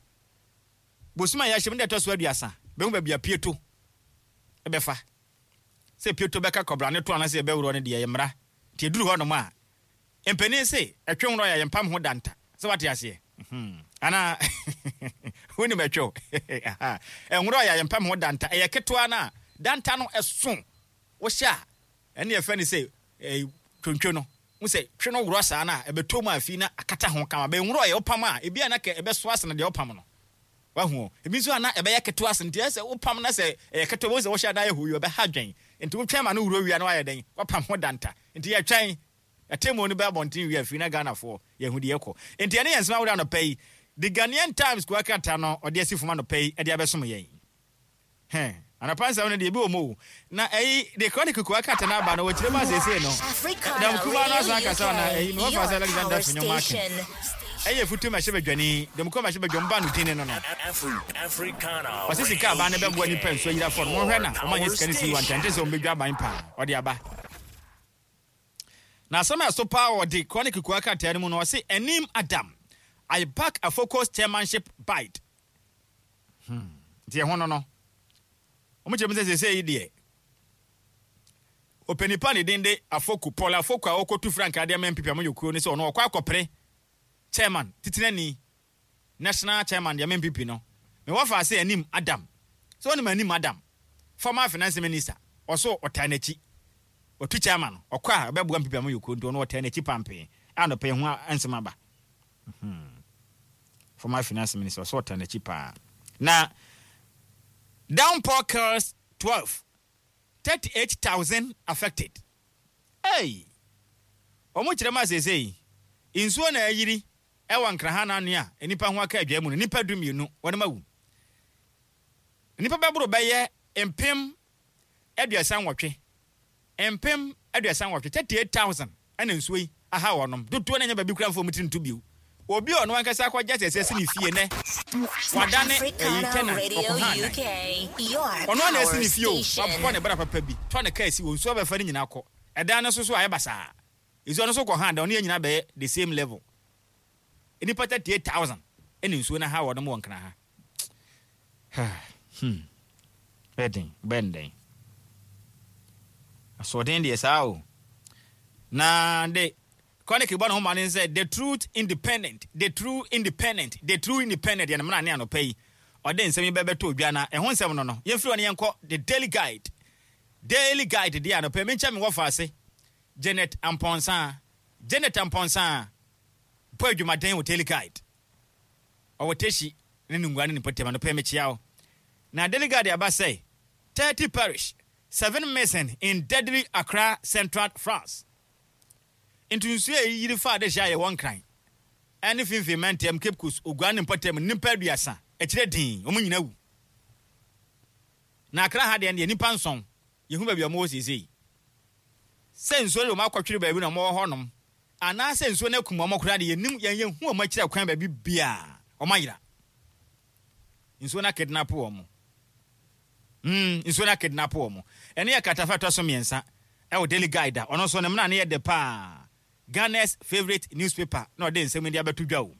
bosom a yɛahyɛ mu no ɛtɔ so aduasa bɛhu baabi a pieto ɛbɛfa. Sɛ pieto bɛka kɔbra ne to anaasɛ yɛbɛworɔ no deɛ yɛ mmara. Nti ɛduru hɔ nom a mpanin se ɛtwe worɔ yɛ yɛmpam ho danta. Sɛ wate aseɛ? Anaa wonim ɛtwe ɛnworɔ yɛ yɛmpam ho danta. Ɛyɛ ketewa no a danta no ɛso wohyɛ a ɛne yɛfɛ ne sɛ twontwo no. Wo sɛ twe no worɔ saa no a ɛbɛtɔ mu afi na akata ho kama. Bɛnworɔ yɛ wopam a ebi a na kɛ ɛbɛso asene deɛ wopam no. Wahu ebi nso ana ɛbɛyɛ ketewa asene nti ɛsɛ wopam na sɛ ɛyɛ ketewa wo sɛ wohyɛ adan yɛ hɔ yi ɛbɛha dwen. Nti wotwɛn ma no worɔ wia na wayɛ dɛn wapam ho danta. Nti yɛtwɛn ɛtɛmu no bɛ abɔnten wia firi na Ghanafoɔ yɛhu deɛ ɛkɔ. Nti ɛne yɛn nsɛm ahodoɔ anɔpa yi, The Ghanaian Times kuwa krataa no ɔde asi fam anɔpa yi ɛde abɛsom yɛn. Hɛn anɔpa nsɛm no deɛ ebi wɔ mu o. Na ɛyi The Chronicle kuwa krataa no aba no wɔkyerɛ mu asiesie no. Dɛm kuma no asan akasa na ɛyi no wɔfa sɛ Alexander Afenyo Markin. Ɛyɛ futu ma ɛhyɛ badwani, dɛm kuma ma ɛhyɛ badwam ba no din no no. Ɔse sika aban no bɛboa nipa nsuo ayirafoɔ no, wɔhwɛ na wɔn anyɛ sika no si wɔn ntɛnte sɛ wɔn bɛdwa aban paa ɔde aba. Na asɛm a ɛso paa wɔ The Chronicle kuwa krataa no mu no ɔse Anim Adam I back Afoko's chairmanship bid. Hmm. Nti ɛho no no. Wɔn kyerɛ mu sɛ sɛsɛ yi deɛ ɔpanipa ne din de Afoko Paul Afoko a ɔkɔtu frankaa de ama N P P amanyɔkuo no sɛ ɔno ɔkɔ akɔpere chairman titenani national chairman de ama N P P no. Me wɔfa ase Anim Adam. Sɛ ɔnim Anim Adam, former finance minister, ɔso ɔtaa n'akyi. Ɔtu chairman no, ɔkɔ a ɔbɛboa N P P amanyɔkuo nti ɔno ɔtaa n'akyi pampee. A nɔpɛ ho nsɛm aba. Former finance minister ɔso ɔtaa n'akyi paa. Na downpour kills twelve, thirty-eight thousand affected. Hey! Ɔmo kyerɛ mu asese yi, nsuo na ayiri ɛwɔ Nkraha n'ano a nipa ho aka adwa mu no, nipa du mmienu wɔn awu. Nipa bɛboro bɛyɛ mpem aduasa nwɔtwe. Mpem aduasa nwɔtwe, thirty-eight thousand ɛna nsuo yi aha wɔnom. Dodoɔ na nya baabi kura mfo mu tiri nto bio. Obi a ɔno ankasa akɔgye asɛsɛ si ne fie nɛ wadane ɛyi tenant ɔkɔ ha anan. Ɔno ana esi ne fie o, wabɔ ne bra papa bi, tɔ ne kaa si wɔ nsuo abɛfa ne nyinaa kɔ. Ɛdan no so so ayɛ basaa. Nsuo no so kɔ ha adan, ɔno yɛ nyinaa bɛyɛ the same level. Nipa thirty-eight thousand ɛna nsuo no ha wɔnom wɔ Nkran ha. Hmm. Bɛden, bɛnden. Asoɔden deɛ saa o. Na de Chronicle bɔ ne ho ma ne sɛ the truth independent, the true independent, the true independent yɛn mmara ne anɔpa yi. Ɔde nsɛm yi bɛbɛtɔ odwa na ɛho nsɛm no no. Yɛmfiri hɔ ne yɛnkɔ the Daily Guide. Daily Guide deɛ anɔpa yi menkyɛ me wɔ faase. Janet Amponsa. Janet Amponsa bɔ adwumaden wɔ Daily Guide. Ɔwɔ Teshi ne ne ngua ne ne mpɔtam anɔpa yi mekyia wo. Na Daily Guide aba sɛ thirty perish, seven missing in deadly Accra Central floods. Nti nsuo a yiri fa de hyɛ a yɛwɔ Nkran ɛne finfin mantam Cape Coast Ogua ne mpɔtam nnipa aduasa akyerɛ din wɔn nyinaa wu. Na Accra ha deɛ deɛ nnipa nson yɛhu baabi a wɔwɔ seesei. Sɛ nsuo no wɔn akɔtwere baabi na wɔwɔ hɔnom anaasɛ nsuo no akum wɔn koraa deɛ yɛnim yɛn yɛhu wɔn akyerɛ kwan baabi biara wɔn ayera. Nsuo no akidnap wɔn. Mm, nsuo no akidnap wɔn. Ɛne yɛ katafa ɛtɔ so mmiɛnsa ɛwɔ Daily Guide a ɔno nso ne mmara no yɛ de paa. Ghana's favourite newspaper na ɔde nsɛm de abɛto dwa o.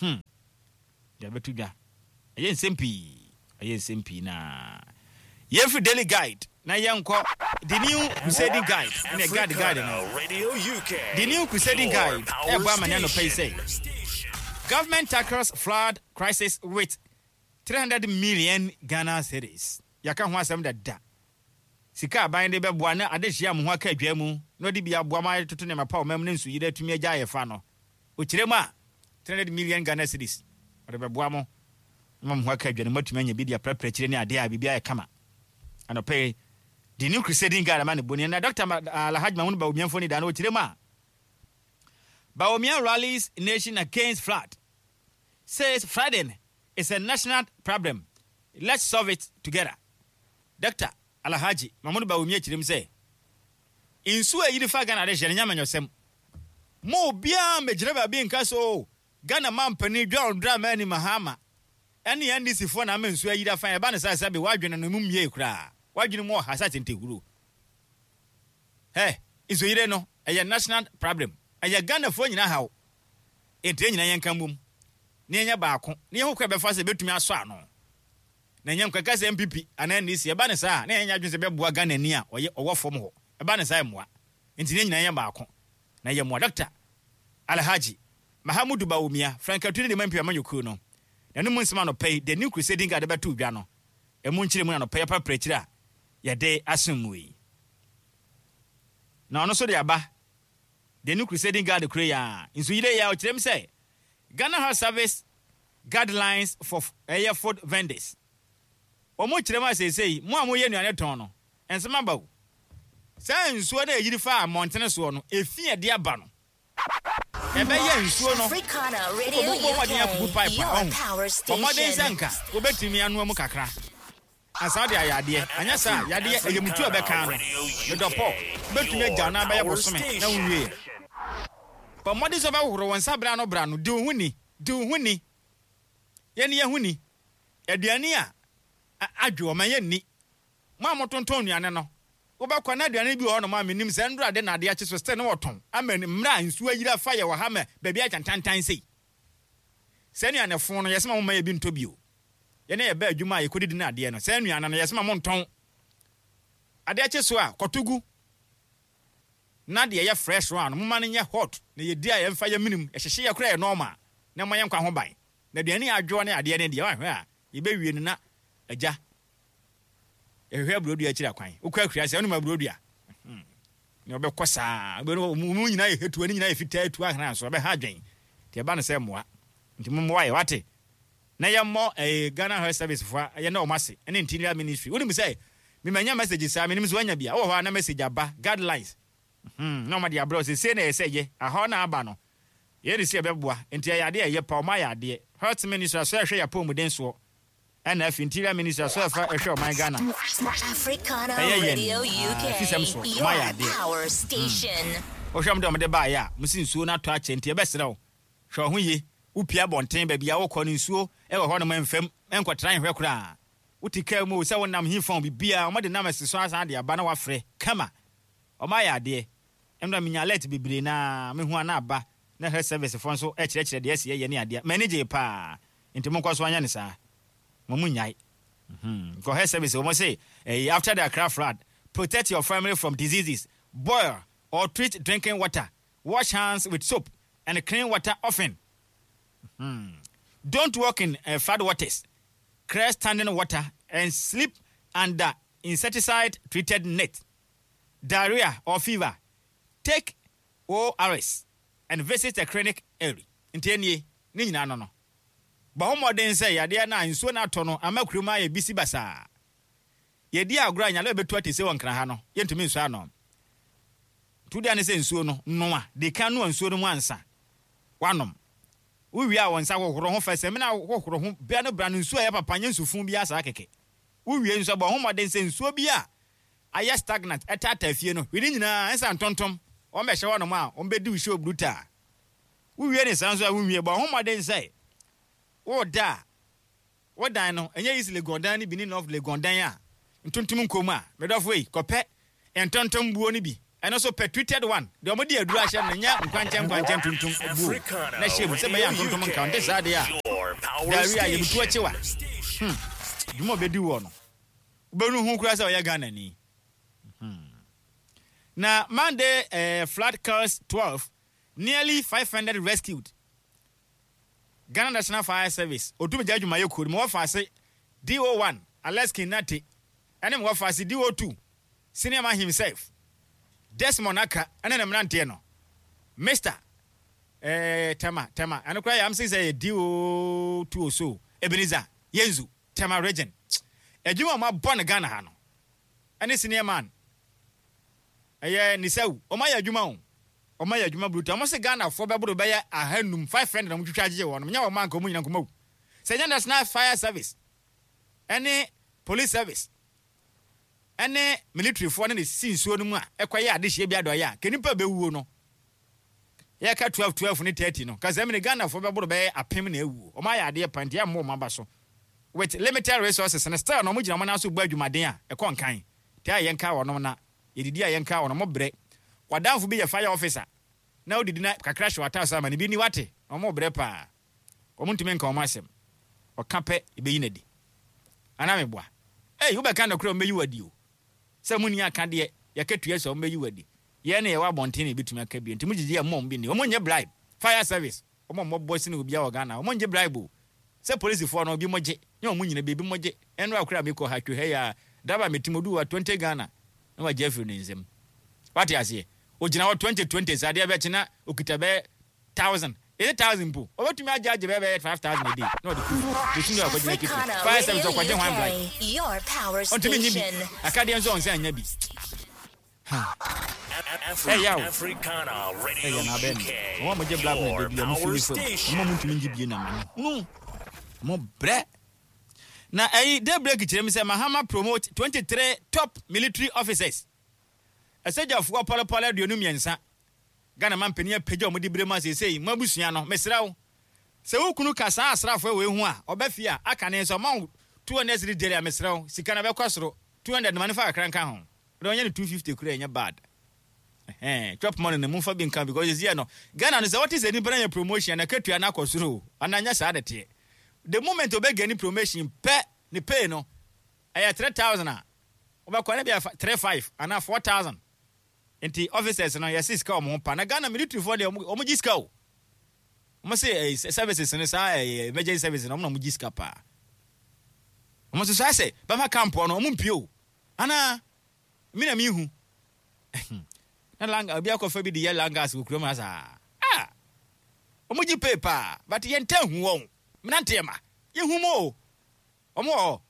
hmm de abɛto dwa. Ɛyɛ nsɛm pii, ɛyɛ nsɛm pii. Na yɛmfiri Daily Guide na yɛnkɔ The New Crusading Guide ɛne Guide Guide no. Radio U K. The New Crusading Your Guide power ɛbɔ ama ne anɔpa yi sɛ station. government tackles flood crisis with three hundred million Ghana cedis. Yɛaka ho asɛm dada, sika aban de bɛboa na adehyia mo ho aka adwa mu na ɔde bi aboa ma ayɛtoto nneɛma pa ɔmam ne nsuyire atumi agya ayɛ fa no. Ɔkyerɛ mu a, three hundred million Ghana cedis ɔde bɛboa mo ma mo ho aka adwa no, moatumi anya bi de aprapra akyire ne adeɛ a biribi ayɛ kama. Anɔpɛ yi The New Crusading Guide ama ne boni na Doctor Alhaji Mahmoud Bawumia mfoni da no. Ɔkyerɛ mu a, Bawumia rallies nation against flood, says flooding is a national problem, let's solve it together. Doctor Alhaji Mahmoud Bawumia kyerɛ mu sɛ nsuo a yiri fa Ghana de hyɛ no nyamanyɔsɛm mo, obiara mmɛgyina baabi nka so o Ghana mampanin John Dramani Mahama ɛne N D C foɔ na ama nsuo ayiri afa. Ɛba ne saa sɛ bi wadwene no mu mmie koraa, wadwene mu ɔha sɛ atentehuro hɛ. Nsuoyire no ɛyɛ national problem, ɛyɛ Ghanafoɔ nyinaa haw, nti yɛn nyinaa yɛnka mbom na yɛnyɛ baako na yɛho kɔ ɛbɛfa sɛ ɛbɛtumi asɔ ano na ɛnyɛ nkɔka sɛ N P P anaa N D C. Ɛba ne saa na yɛnyɛ adwene sɛ bɛboa Ghana ni a ɔyɛ ɔwɔ fam hɔ. Ɛba ne saa mmoa nti yɛn nyinaa yɛ baako na yɛ mmoa. Doctor Alhaji Mahamudu Bawumia, frankatu ne de ma N P P amanyɔkuo no, na no mu nsɛm anɔpa yi The New Crusading Guide bɛto dwa no, ɛmu nkyerɛ mu na anɔpa yi aprapra akyire a yɛde asom mu yi. Na ɔno nso de aba The New Crusading Guide kuro yi a nso yire yi a ɔkyerɛ mu sɛ Ghana Health Service guidelines for ɛyɛ food vendors. Wɔn kyerɛ mu a, seesei mo a moyɛ nnuane tɔn no, nsɛm aba o. Saa nsuo no a ɛyiri fa mmɔntene soɔ no, efi a ɛde aba no, ɛbɛyɛ nsuo no Africana Radio wobɔ mmɔden akugu U K, pipe a your ɔho power ɔmmɔden sɛ station. nka wobɛtumi anoa mu kakra ansa wode ayɛ adeɛ. Anyɛ saa yadeɛ ɛyɛ mutu a ɛbɛka no medɔpɔ wobɛtumi agya wo na abɛyɛ bosome na wonwieɛ. Bɔ mmɔden sɛ wobɛhohoro wo nsa bra no bra no. Di wo ho ni, di wo ho ni, yɛne yɛ ho ni. Aduane a a- adwo ɔma yɛnni. Mo a motontɔn nnuane no, wobɛkɔ na aduane bi wɔ hɔnom a menim sɛ ndora de nade akye so still ne wɔtɔn ama ni- mmerɛ a nsuo ayiri afa yɛ wɔ ha ma baabi agyantantan sei. Sɛ nnuane fo no, yɛsɛ ma momma yɛ bi ntɔ bio. Yɛne yɛba adwuma a yɛkɔdidi no adeɛ no, sɛ nnuane no yɛsɛ ma montɔn adeɛ kye so a kɔto gu na deɛ ɛyɛ fresh one no, moma no nyɛ hot na yɛdi a yɛmfa yɛ minim ɛhyehye yɛ koraa yɛ normal na ma yɛnkwa ho ban. Na aduane a adwoɔ ne adeɛ no deɛ, wahwɛ a yɛbɛwie no na agya yɛhwehwɛ aburodua akyiri akwan. Wokɔ akura sɛ wonom aburodua na ɔbɛkɔ saa mu nyinaa yɛ hetuo ne nyinaa yɛ fitaa etu ahena so ɔbɛha adwen nti ɛba no sɛ mmoa nti mommoa yɛ wate na yɛmmɔ ɛɛ Ghana Health Service foɔ yɛ na ɔmo ase ɛne Interior Ministry. Wonim sɛ memanya message saa, menim sɛ wanya bia wowɔ hɔ a na message aba, guidelines hmm, na ɔma de abrɛ sɛ sei na ɛyɛ sɛ yɛ ahɔ na aba no yɛde sɛ yɛbɛboa. Nti ɛyɛ adeɛ a ɛyɛ pa, ɔmo ayɛ adeɛ. Health Ministry aso ɛhwɛ yɛ apɔmuden soɔ, ɛna afei Interior Ministry aso ɛfa ɛhwɛ ɔman Ghana Africana ɛyɛ yɛn Radio ah, fisɛm so U K, ɔmo ayɛ your adeɛ. power station. Wohwɛ m de ɔmde baeɛ a mosi nsuo no atɔ akyɛ nti ɛbɛserɛ wo, hwɛ wo ho yie. Wopia abɔnten baabi a wokɔ no, nsuo ɛwɔ hɔ nom mfam, ɛnkɔtena nhwɛ koraa. Wote kaa mu o, sɛ wonam he fa biribiaa ɔmɔde nam asi so asan de aba na wafrɛ kama. Ɔma ayɛ adeɛ. Ɛnna menya alert bebree na mehu ana aba na health service foɔ nso ɛkyerɛkyerɛ deɛ ɛsi yɛyɛ ne adeɛ. M'ani gye paa nti monkɔ so anyɛ ne saa, mo mu nyae. Mhm. Kɔ health service wɔn say eh, after the Accra flood, protect your family from diseases: boil or treat drinking water, wash hands with soap and clean water often. Mhm. Don't walk in uh, flood waters, clear standing water and sleep under insecticide treated net. Diarrhea or fever, take O R S and visit a clinic early. Nti nie ne nyinaa no no bɔ ho mmɔden sɛ yadeɛ no a nsuo no atɔ no ama kurom ayɛ bisi basaa. Yɛdi agorɔ a nyale bɛtu ate sɛ wɔ Nkra ha no, yɛntumi nsuo ano. Nti wodeɛ ne sɛ nsuo no noa de ka noa nsuo no mu ansa wanom. Wowie a, wɔn nsa hohoro ho fa sɛmina hohoro ho bia no bra no nsuo a ɛyɛ papa, nyɛ nsufun bi asa kɛkɛ. Wowie nso, bɔ ho mmɔden sɛ nsuo bi a ayɛ stagnant ɛtaataa fie no hwene nyinaa ɛnsa ntontom wɔn bɛhyɛ hɔ nom a wɔn bɛdi wo show brutal. Wowie ne saa nso a, wonwie, bɔ ho mmɔden sɛ woda a wodan no ɛnyɛ East Legon dan no bi ne North Legon dan a ntontom nkom a medɔfo yi kɔpɛ ntontom buo no bi. Ɛno nso pɛ treated one deɛ ɔmo de aduru ahyɛ no, nyɛ nkwankyɛn nkwankyɛn tuntum buo na hyɛ mu sɛ bɛyɛ ntontom nka nte saa deɛ a Your power dari a yɛbutu akyi wa station. Dwuma a ɔbɛdi wɔ no, wobɛnu ho koraa sɛ ɔyɛ Ghanani Hmm. Na Monday eh, flood kills twelve, nearly five hundred rescued. Ghana National Fire Service otumi gya adwumayɛ kuo no ma wɔfa ase D O one Alex Kinate ɛne ma wɔfa ase D O two senior man himself Desmond Aka ɛne ne mmeranteɛ no Mister eh, Tema Tema ɛno koraa yɛ am sɛ sɛ yɛ D O two o, so Ebenezer Yenzu, Tema Region, adwuma a wɔabɔ no Ghana ha no ɛne senior man ɛyɛ Nisawu, wɔn ayɛ adwuma o, wɔn ayɛ adwuma brutal. Wɔn sɛ Ghanafoɔ bɛboro bɛyɛ ahanum five hundred na wɔn twitwa agyegye wɔn nyɛ wɔn anka wɔn nyina nkɔmɔ wu sɛ nyɛ National Fire Service ɛne Police Service ɛne militaryfoɔ ne ne si nsuo no mu a ɛkɔyɛ adehyɛ bi adɔyɛ a kenipa bɛwuo no. Yɛka twelve twelve ne thirty no kasa mi ne Ghanafoɔ bɛboro bɛyɛ apem na awuo. Wɔn ayɛ adeɛ pa nti ɛmmɔ wɔn aba so. With limited resources no, still na wɔn gyina wɔn nan so bɔ adwumaden a ɛkɔ nkan te a yɛnka wɔn na yɛdidi a yɛnka wɔn mo brɛ. Wadanfo bi yɛ fire officer na odidi na kakra hyɛ wata so ama ne bi ni wate na wɔn brɛ paa. Wɔn ntumi nka wɔn asɛm, ɔka pɛ ebeyi n'adi anaa meboa ɛy wobɛka nɔkorɛ, wɔn bɛyi wadi o sɛ mu ni aka deɛ yɛka tua sɛ wɔn bɛyi wadi. Yɛn na yɛwɔ abɔnten na ebitumi aka bi nti mo gyigyi yɛ mmɔ bi ni. Wɔn nyɛ bribe. Fire Service, wɔn a wɔbɔ sini obiara wɔ Ghana, wɔn ngye bribe o. Sɛ polisifoɔ no obi mo gye nye wɔn nyina beebi mo gye. Ɛno akora mi kɔ ha twe ha yi a driver mi ti mo du wa twenty Ghana na wagye afiri ne nsam. Wate aseɛ? Ogyina hɔ twenty twenty saa adeɛ bɛkye na okita bɛyɛ thousand eight thousand mpo, ɔbɛtumi agye agye bɛyɛ bɛyɛ five thousand a day na ɔde kɔ bosun de akɔgyina kitchen. Africana Fire Service Radio ɔkɔgye hwan bribe? U K, your power Ɔntumi nyi bi station. Akadeɛ nso ɔnsa nya bi. Hey, yo. Africana Radio ɛyɛ na abɛn U K. no wɔn a wɔgye bribe na Your ebi a wɔn power firi fam station. wɔn a wɔntumi ngye bie na ma no wɔn brɛ. Na ɛyi Daybreak kyerɛ mi sɛ Mahama promote twenty three top military officers. Ɛsɛgyafoɔ pɔlɔpɔlɔ aduonu mmiɛnsa, Ghana man panin apagya wɔn de bere mu asesei mo abusua no. Mesrɛ wo sɛ wo kunu ka saa asraafoɔ wei ho a ɔbɛ fie a aka ne nso ɔma wo two hundred cedi daily a, mesrɛ wo, sika na bɛkɔ soro two hundred ma ne fa kakra nka ho ɔdɛ ɔnyɛ ne two fifty kura, ɛnyɛ bad. Ɛhɛn, chop money no mumfa bi nka because esi no Ghana no sɛ wɔte sɛ nipa na yɛ promotion na ketua na akɔ soro o ana nyɛ saa de teɛ. The moment obɛ ni promotion pɛ, ne pay no ɛyɛ three thousand a wobɛkɔ ne bi yɛ three five anaa four thousand. Nti officers no yɛsi sika wɔn ho pa na Ghana military foɔ deɛ wɔn gye sika o. Wɔn sɛ ɛɛ services no saa ɛɛ emergency services no, wɔn na wɔn gye sika paa. Wɔn nso so ayɛ sɛ bɛma camp no wɔn mpie o anaa mi na mi hu na langa obi akɔfa bi de yɛ langas wɔ kurom ha saa. Ah, wɔn gye pay paa, but yɛn ntɛn hu wɔn mmeranteɛ ma yɛhu mu o. Wɔn wɔ hɔ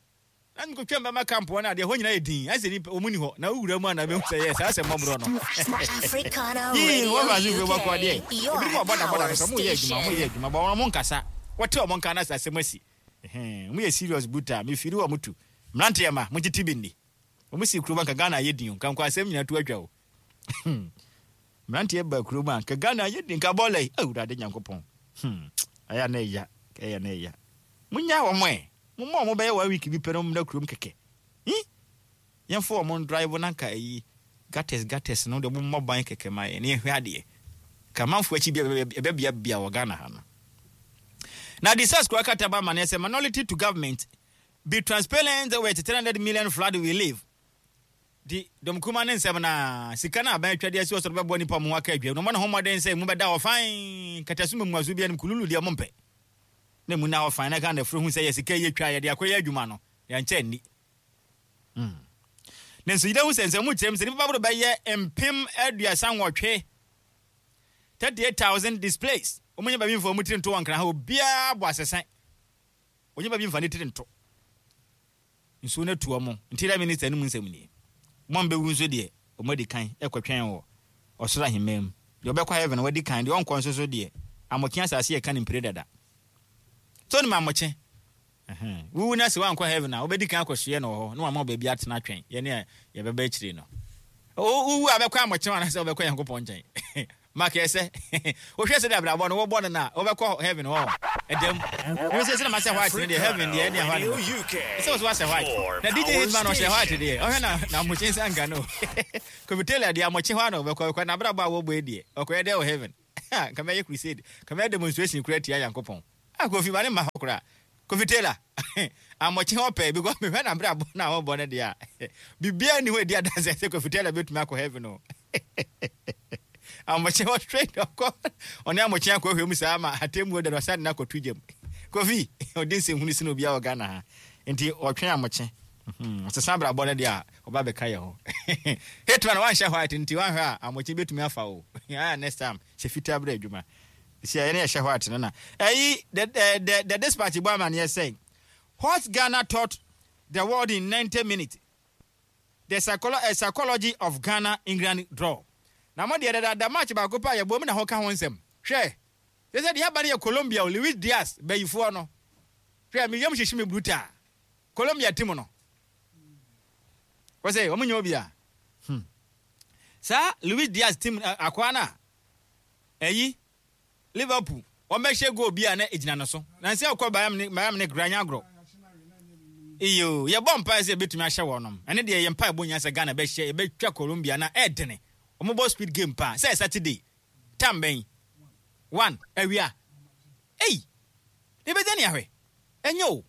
na nkotwa mbɛma camp hɔ no adeɛ hɔ nyinaa yɛ din ayɛ sɛ nipa wɔn ni hɔ na wowura mu a na bɛhu sɛ yɛ saa sɛ mmɔborɔ no Africana yii Radio wɔn fa so fi bɔkɔ deɛ U K, your ebi mu ɔbɔda bɔda power no sɛ ɔmo yɛ adwuma, ɔmo yɛ station. adwuma bɔ wɔn nkasa wɔte ɔmo nka na sɛ asɛm asi. Ɛhɛn, ɔmo yɛ serious brutal. Mefiri wɔn tu mmeranteɛ ma mo tete bi nni ɔmo si kurom anka Ghana ayɛ din o, nka nkɔ asɛm nyinaa to atwa o. Mmeranteɛ ba kurom a nka Ghana ayɛ din, nka bɔɔla yi Awurade Nyankopɔn. hmm ɛyɛ na ɛya, ɛyɛ na ɛya. Munya wɔn ɛ momma wɔn bɛyɛ one week bi pɛ na wɔn mmra kurom kɛkɛ hi yɛmfa wɔn drive na nka ayi gutters gutters no de wɔn mmɔ ban kɛkɛ ma yɛn na yɛhwɛ adeɛ ka amanfoɔ akyi bi ɛbɛbiabia wɔ Ghana ha no. Na the sas kura kata ba ma ne sɛ minority to government, be transparent with three hundred million flood relief. Di dɔm ne nsɛm na sika no aban atwa de asi ɔsoro bɛboa nipa mu aka adwa no ɔmɔ ne ho mmɔden sɛ mu bɛda hɔ fan kataso mu mmuaso bi anim kululu deɛ mompɛ na mu na hɔ fan na ka na furo hu sɛ yɛ sika yɛ twa yɛde akɔyɛ adwuma no yɛnkyɛ nni. Hmm. Ne nso yɛde hu sɛ nsɛm mu kyerɛ mu sɛ nipa baboro bɛyɛ mpem aduasa nwɔtwe, thirty eight thousand displaced. Wɔn nyɛ baabi nfa wɔn tiri nto wɔn nkran ha, obiara bɔ asɛsɛn wɔn nyɛ baabi nfa ne tiri nto nsuo no atu wɔn. Interior Minister no mu nsɛm nie. Wɔn bɛwu nso deɛ wɔn adi kan ɛkɔtwɛn wɔ ɔsoro ahemman mu. Deɛ ɔbɛkɔ heaven wadi kan, deɛ ɔnkɔ nso so deɛ amɔkye asase yɛ ka ne mpire dada so ne ma amɔkye wuwu na sɛ wankɔ heaven a wobɛdi kan akɔsoɛ no wɔ hɔ na wama wo baabi atena twɛn yɛne a yɛbɛba akyire no. Wuwu a bɛkɔ amɔkye anaasɛ wobɛkɔ Nyankopɔn nkyɛn? Mark ɛsɛ wohwɛ sɛ de abrabɔ no wɔbɔ no na wɔbɛkɔ heaven hɔ ɛdɛm ɛmi sɛ sɛ na ma hyɛ white no deɛ, heaven deɛ ɛne ɛhɔ Radio ne U K. Sɛ wɔso wahyɛ white Your na D J power Hitman ɔhyɛ white station. deɛ, ɔhwɛ na na amokye nsa nka no. Kofi Taylor deɛ, amokye hɔ a na ɔbɛkɔ ɔkɔ na abrabɔ a wɔbɔ yi deɛ, ɔkɔyɛ dɛ wɔ heaven? Kama yɛ crusade, kama yɛ demonstration kura tia Yankopɔn a Kofi ma ne ma hɔ koraa. Kofi Taylor amokye hɔ pɛɛ because mehwɛ na abrabɔ no a wɔbɔ no deɛ a, biribiara ni hɔ edi adanse sɛ Kofi Taylor bɛtumi akɔ heaven o. Amokye hɔ straight ɔkɔ, ɔne amokye akɔ hwɛ mu saa ma atemmuo da no ɔsan de no akɔto gyam. Kofi ɔde nsɛmhunu sene obiara wɔ Ghana ha, nti ɔtwɛn amokye ɔsesa abrabɔ no deɛ a, ɔba bɛka yɛ hɔ. Hitman wanhyɛ white nti wanhwɛ a amokye bɛtumi afa o. Ah, next time hyɛ fitaa berɛ adwuma si a yɛne yɛhyɛ white no na ɛyi. the, the, the, the Dispatch bɔ amanneɛ sɛ what Ghana taught the world in ninety minutes, the psycholo uh, psychology of Ghana England draw. Na mo deɛ, dada match baako pa a yɛbɔ mu na ho ka ho nsɛm. Hwɛ sɛ sɛ deɛ aba no yɛ Colombia o, Luis Diaz bɛyifoɔ no. Hwɛ, meyam hyehye me brutal. Colombia team no wɔ sɛ ɔmo nyɛ obi a hmm. Saa Luis Diaz team uh, akoa no a ɛyi Liverpool wɔn bɛhyɛ goal bi a na egyina no so na nsɛ ɔkɔ Bayern ne Bayern ne granya agorɔ iyo. Yɛbɔ mpae sɛ yɛbɛtumi ahyɛ wɔnom. Ɛne deɛ yɛ mpae bɔ nyina sɛ Ghana bɛhyɛ, yɛbɛtwa Colombia na ɛɛdene. Wɔn bɔ speed game paa sɛ Saturday time bɛn? One awia ei ne bɛgya ne ahwɛ. Ɛnyɛ o,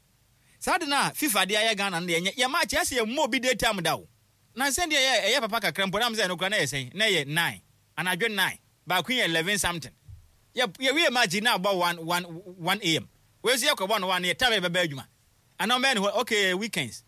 saa de no a FIFA de ayɛ Ghana no deɛ, ɛnyɛ yɛ match ɛsɛ yɛ mmɔ obi day time da o. Na nsɛn deɛ ɛyɛ ɛyɛ papa kakra mpo nam sɛ ɛno kora na yɛ sɛn na yɛ nine anadwo nine, baako yɛ eleven something. Yɛ yɛwie match na abɔ one one one am. Wei nso yɛkɔbɔ no one yɛ time yɛ bɛbɛ adwuma anaa ɔbɛyɛ ne hɔ. Okay, weekends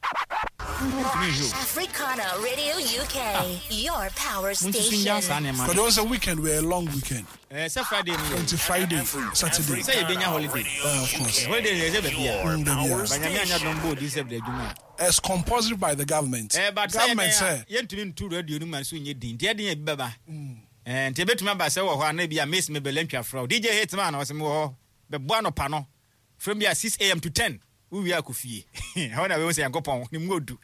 ntumi nhwɛ o. Africana Radio U K, your power Monsusu nya saa station. nneɛma But no. it was a weekend, we're a long weekend. Ɛɛ, sɛ Friday no yɛ Until Friday, Saturday. Sɛ yɛbɛnya holiday. Uh, of course. Holiday no yɛ sɛ baabi a Mm, dabi a. banyame anya dɔm bɔ odi sɛ bɛde adwuma a. It's compulsory by the government. Ɛɛ, but sɛ Government yɛdɛn say a yɛntumi ntu radio no ma so nyɛ din nti ɛden yɛ bi bɛba. Ɛɛ, nti ebɛtumi aba sɛ wɔ hɔ a na bi a miss me bɛlɛ ntwa frɛ wo D J Hitman, ɔsɛ mewɔ hɔ bɛbɔ anɔpa no from bi a six a m to ten, wowie akɔ fie. Ɛhɔ na bɛhu sɛ Nyankopɔn ne mu odu.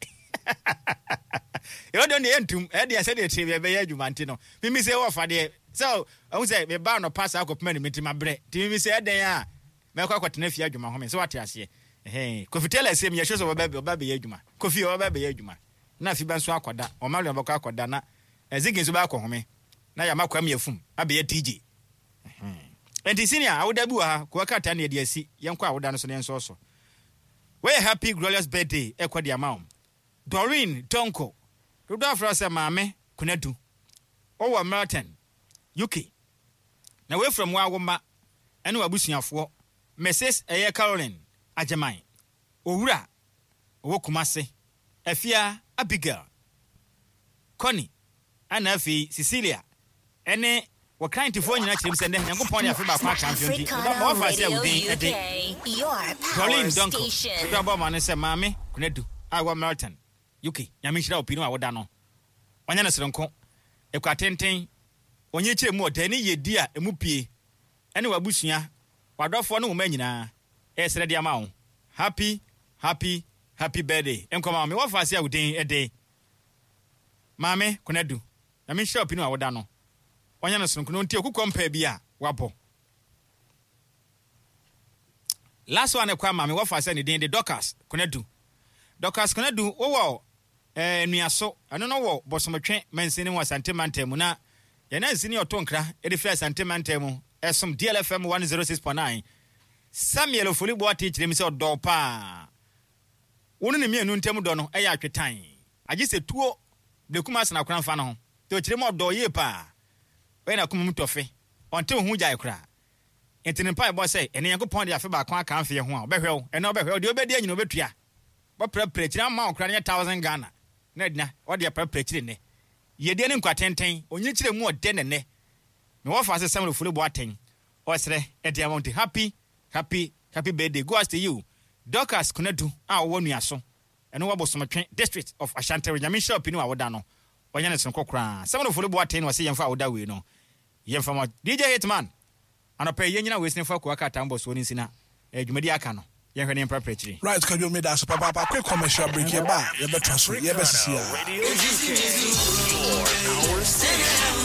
Ɛwɔ deɛ deɛ yɛntum ɛdeɛ sɛdeɛ tie bi ɛbɛyɛ adwuma nti no mimi sɛ wɔfa deɛ sɛ ɔhu sɛ meba anɔpa saa kɔpem anim nti mabrɛ nti mimi sɛ ɛdɛn a mɛkɔ akɔtena fie adwuma home sɛ wate aseɛ. Ɛhɛn, Kofi Taylor sɛ meyɛhwɛ sɛ ɔbɛba ɔbɛba bɛyɛ adwuma. Kofi ɔbɛba bɛyɛ adwuma na afi bɛ nso akɔda, ɔma leon bɛkɔ akɔda na Ezeki nso bɛakɔ home na yɛama Kwame afum abɛyɛ D J. Nti senior awoda bi wɔ ha kowa krataa ne yɛde asi. Yɛnkɔ awoda no so ne yɛnsɔɔ so. Wɔyɛ happy glorious birthday ɛkɔ de ama wo Doreen Donko, dodo afrɛ sɛ Maame Kunadu, wɔwɔ Melton, U K. Na wɔafura mu awo mma ɛne w'abusuafoɔ Missus ɛyɛ Caroline Agyeman Owura, ɔwɔ Kumase, Afia, Abigail, Connie, ɛna afei Cecilia ɛne wɔkrantefoɔ nyinaa kyerɛ mu sɛ nnɛ Nyankopɔn de afe baako aka mfeɛ nti Africana wɔfa sɛ Radio wo din ɛde U K, your power Doreen Donko station. dodo abɔ ma no sɛ Maame Kunadu a ɛwɔ Melton, U K. Nyame nhyira wo pii no a woda no ɔnyɛ no serenko ɛkwa tenten ɔnyɛ kyerɛ mu ɔda ne yɛdi a ɛmu pie ɛne w'abusua, w'adɔfoɔ ne wo mma nyinaa ɛsrɛ de ama wo happy happy happy birthday nkɔma wo. Me wɔfa ase a wo din ɛde Maame Konadu. Nyame nhyira wo pii no a woda no ɔnyɛ no soronko no nti okukɔ mpaa bi a wabɔ. Last one ɛkɔ ama me wɔfa sɛ ne din de Dorcas Konadu. Dorcas Konadu wowɔ ɛɛ Nnuaso, ɛno no wɔ Bosomtwe mansini mu, Asante mantam mu. Na yɛn ansini ɔto nkra ɛde firi Asante mantam mu ɛsom D L F M one oh six point nine. Samuel Ofoli Boate kyerɛ mi sɛ ɔdɔ paa. Wɔn ne mmienu ntam dɔ no ɛyɛ atwetan agye sɛ tuo blekum asena akora nfa no ho te. Ɔkyerɛ mu ɔdɔ yie paa, ɔyɛ n'akoma mu tɔfe, ɔnte wo ho gyae koraa. Nti ne mpaebɔ sɛ ɛne Nyankopɔn de afe baako aka mfeɛ ho a ɔbɛhwɛ wo ɛnɛ, ɔbɛhwɛ wo deɛ wobɛdi anyina wobɛtua bɔprɛprɛ akyiri ama wo koraa no yɛ thousand Ghana na adina ɔde aprɛprɛ akyiri nnɛ yɛdeɛ ne nkwa tenten ɔnyi kyerɛ mu ɔdɛ nɛnɛ na wɔfa ase Samuel Ofori Boateng ɔsrɛ ɛde ama wo. Nti happy happy happy birthday go out to you, Dorcas Konadu a wɔwɔ Nuaso, ɛno wɔ Bosomtwe district of Ashanti. Nyame nhyira wo pii no a woda no ɔnyɛ ne sononko koraa. Samuel Ofori Boateng na ɔsɛ yɛmfa a woda wei no yɛmfa ma D J Hitman anɔpɛ yi. Yɛnyina wei sene fa kowa krataa mbɔsoɔ no nsi na eh, dwumadi aka no yɛnhwɛ ne yɛmprapra akyiri. Right, Kwadwo, me da ase papaapa. Quick commercial break, yɛba a yɛbɛtoa so, yɛbɛsisi a. Radio U K, your power station.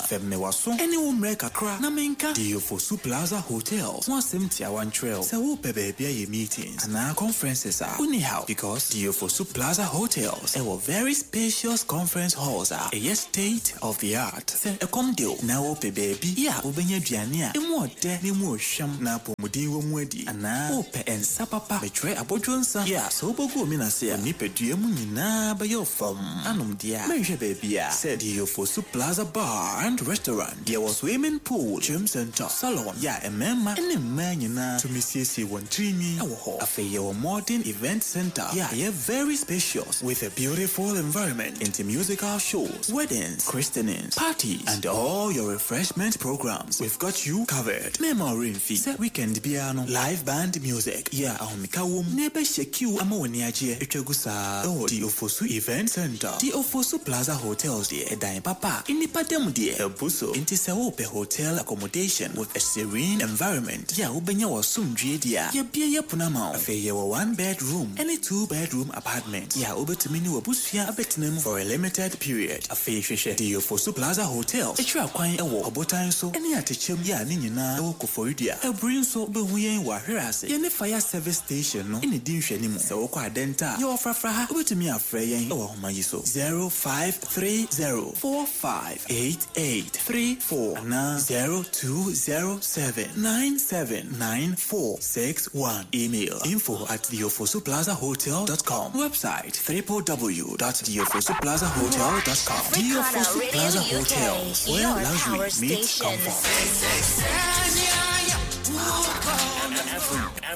Fɛm me waso ɛne wo mmerɛ kakra na menka The Ofosu Plaza Hotels ho asɛm tiawa nkyerɛ wo. Sɛ wopɛ baabi ayɛ meetings anaa conferences a, wonni haw, because The Ofosu Plaza Hotels ɛwɔ very spacious conference halls a ɛyɛ state of the art. Sɛ ɛkɔm de wo na wopɛ baabi yɛ a wobɛnya aduane a emu ɔdɛ na emu ɔhwam na apɔmuden wɔ mu adi, anaa wopɛ nsa papa, metwerɛ abɔdwo nsa yɛ a sɛ wobɛgu omi ase a, nipadua mu nyinaa bɛyɛ wo fam anom deɛ a, mɛnhwɛ baabi a sɛ The Ofosu Plaza Bar and Restaurant. Yɛwɔ swimming pool, gym center, salon yɛ a mmarima ne mmaa nyinaa tumi siesie wɔn tirinwi ɛwɔ hɔ. Afei yɛwɔ modern event center yɛ a ɛyɛ very spacious with a beautiful environment into musical shows, weddings, christenings, parties and all your refreshment programs. We've got you covered. Mɛma ɔremfi sɛ weekend biara no, live band music yɛ a ahomeka wɔ mu na ɛbɛhyɛ kiw ama w'ani agyeɛ atwa gu saa ɛwɔ The Ofosu Event Center. The Ofosu Plaza Hotels deɛ, ɛdan papa a nnipa da mu deɛ ɛbu so. Nti sɛ wopɛ hotel accommodation with a serene environment yɛ a wobɛnya w'asomdwie deɛ a, yɛbie yɛ pono ama wo. Afei yɛwɔ one bedroom ɛne two bedroom apartment yɛ a wobɛtumi ne w'abusua abɛtena mu for a limited period. Afei hwehwɛ The Ofosu Plaza Hotel akyiri akwan ɛwɔ Ɔbotan so ɛne Atekyɛm yɛ a ne nyinaa ɛwɔ Koforidua. Ɛburi nso, wobɛhu yɛn wɔ Ahwere ase, yɛne fire service station no ɛne di nhwɛnimu. Sɛ wokɔ Adɛnta a, yɛwɔ Frafra ha. Wobɛtumi afrɛ yɛn ɛwɔ ahoma yi so: zero five three zero four five eight eight three four anaa zero two zero seven nine seven nine four six one. Email info at theofosuplazahotel dot com. Website w w w dot theofosuplazahotel dot com. The Africana Ofosu Radio Plaza U K, Hotels, where your luxury power meets station. comfort.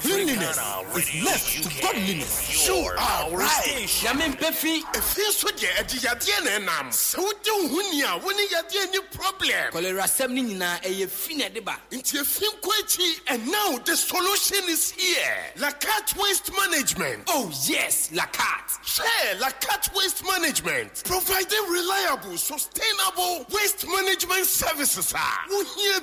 Cleanliness is next to godliness. You You are right. Nyame mpɛ fi. Efie nso deɛ, ɛde yadeɛ na ɛnam. Sɛ wodi wo ho ni a, wo ne yadeɛ ni problem. Kɔlera asɛm no nyinaa ɛyɛ fi na ɛde ba. Nti efi nkɔ akyi, and now the solution is here: Lacat Waste Management. Oh yes, Lacat. Share Lacat Waste Management, providing reliable, sustainable waste management services a wohia.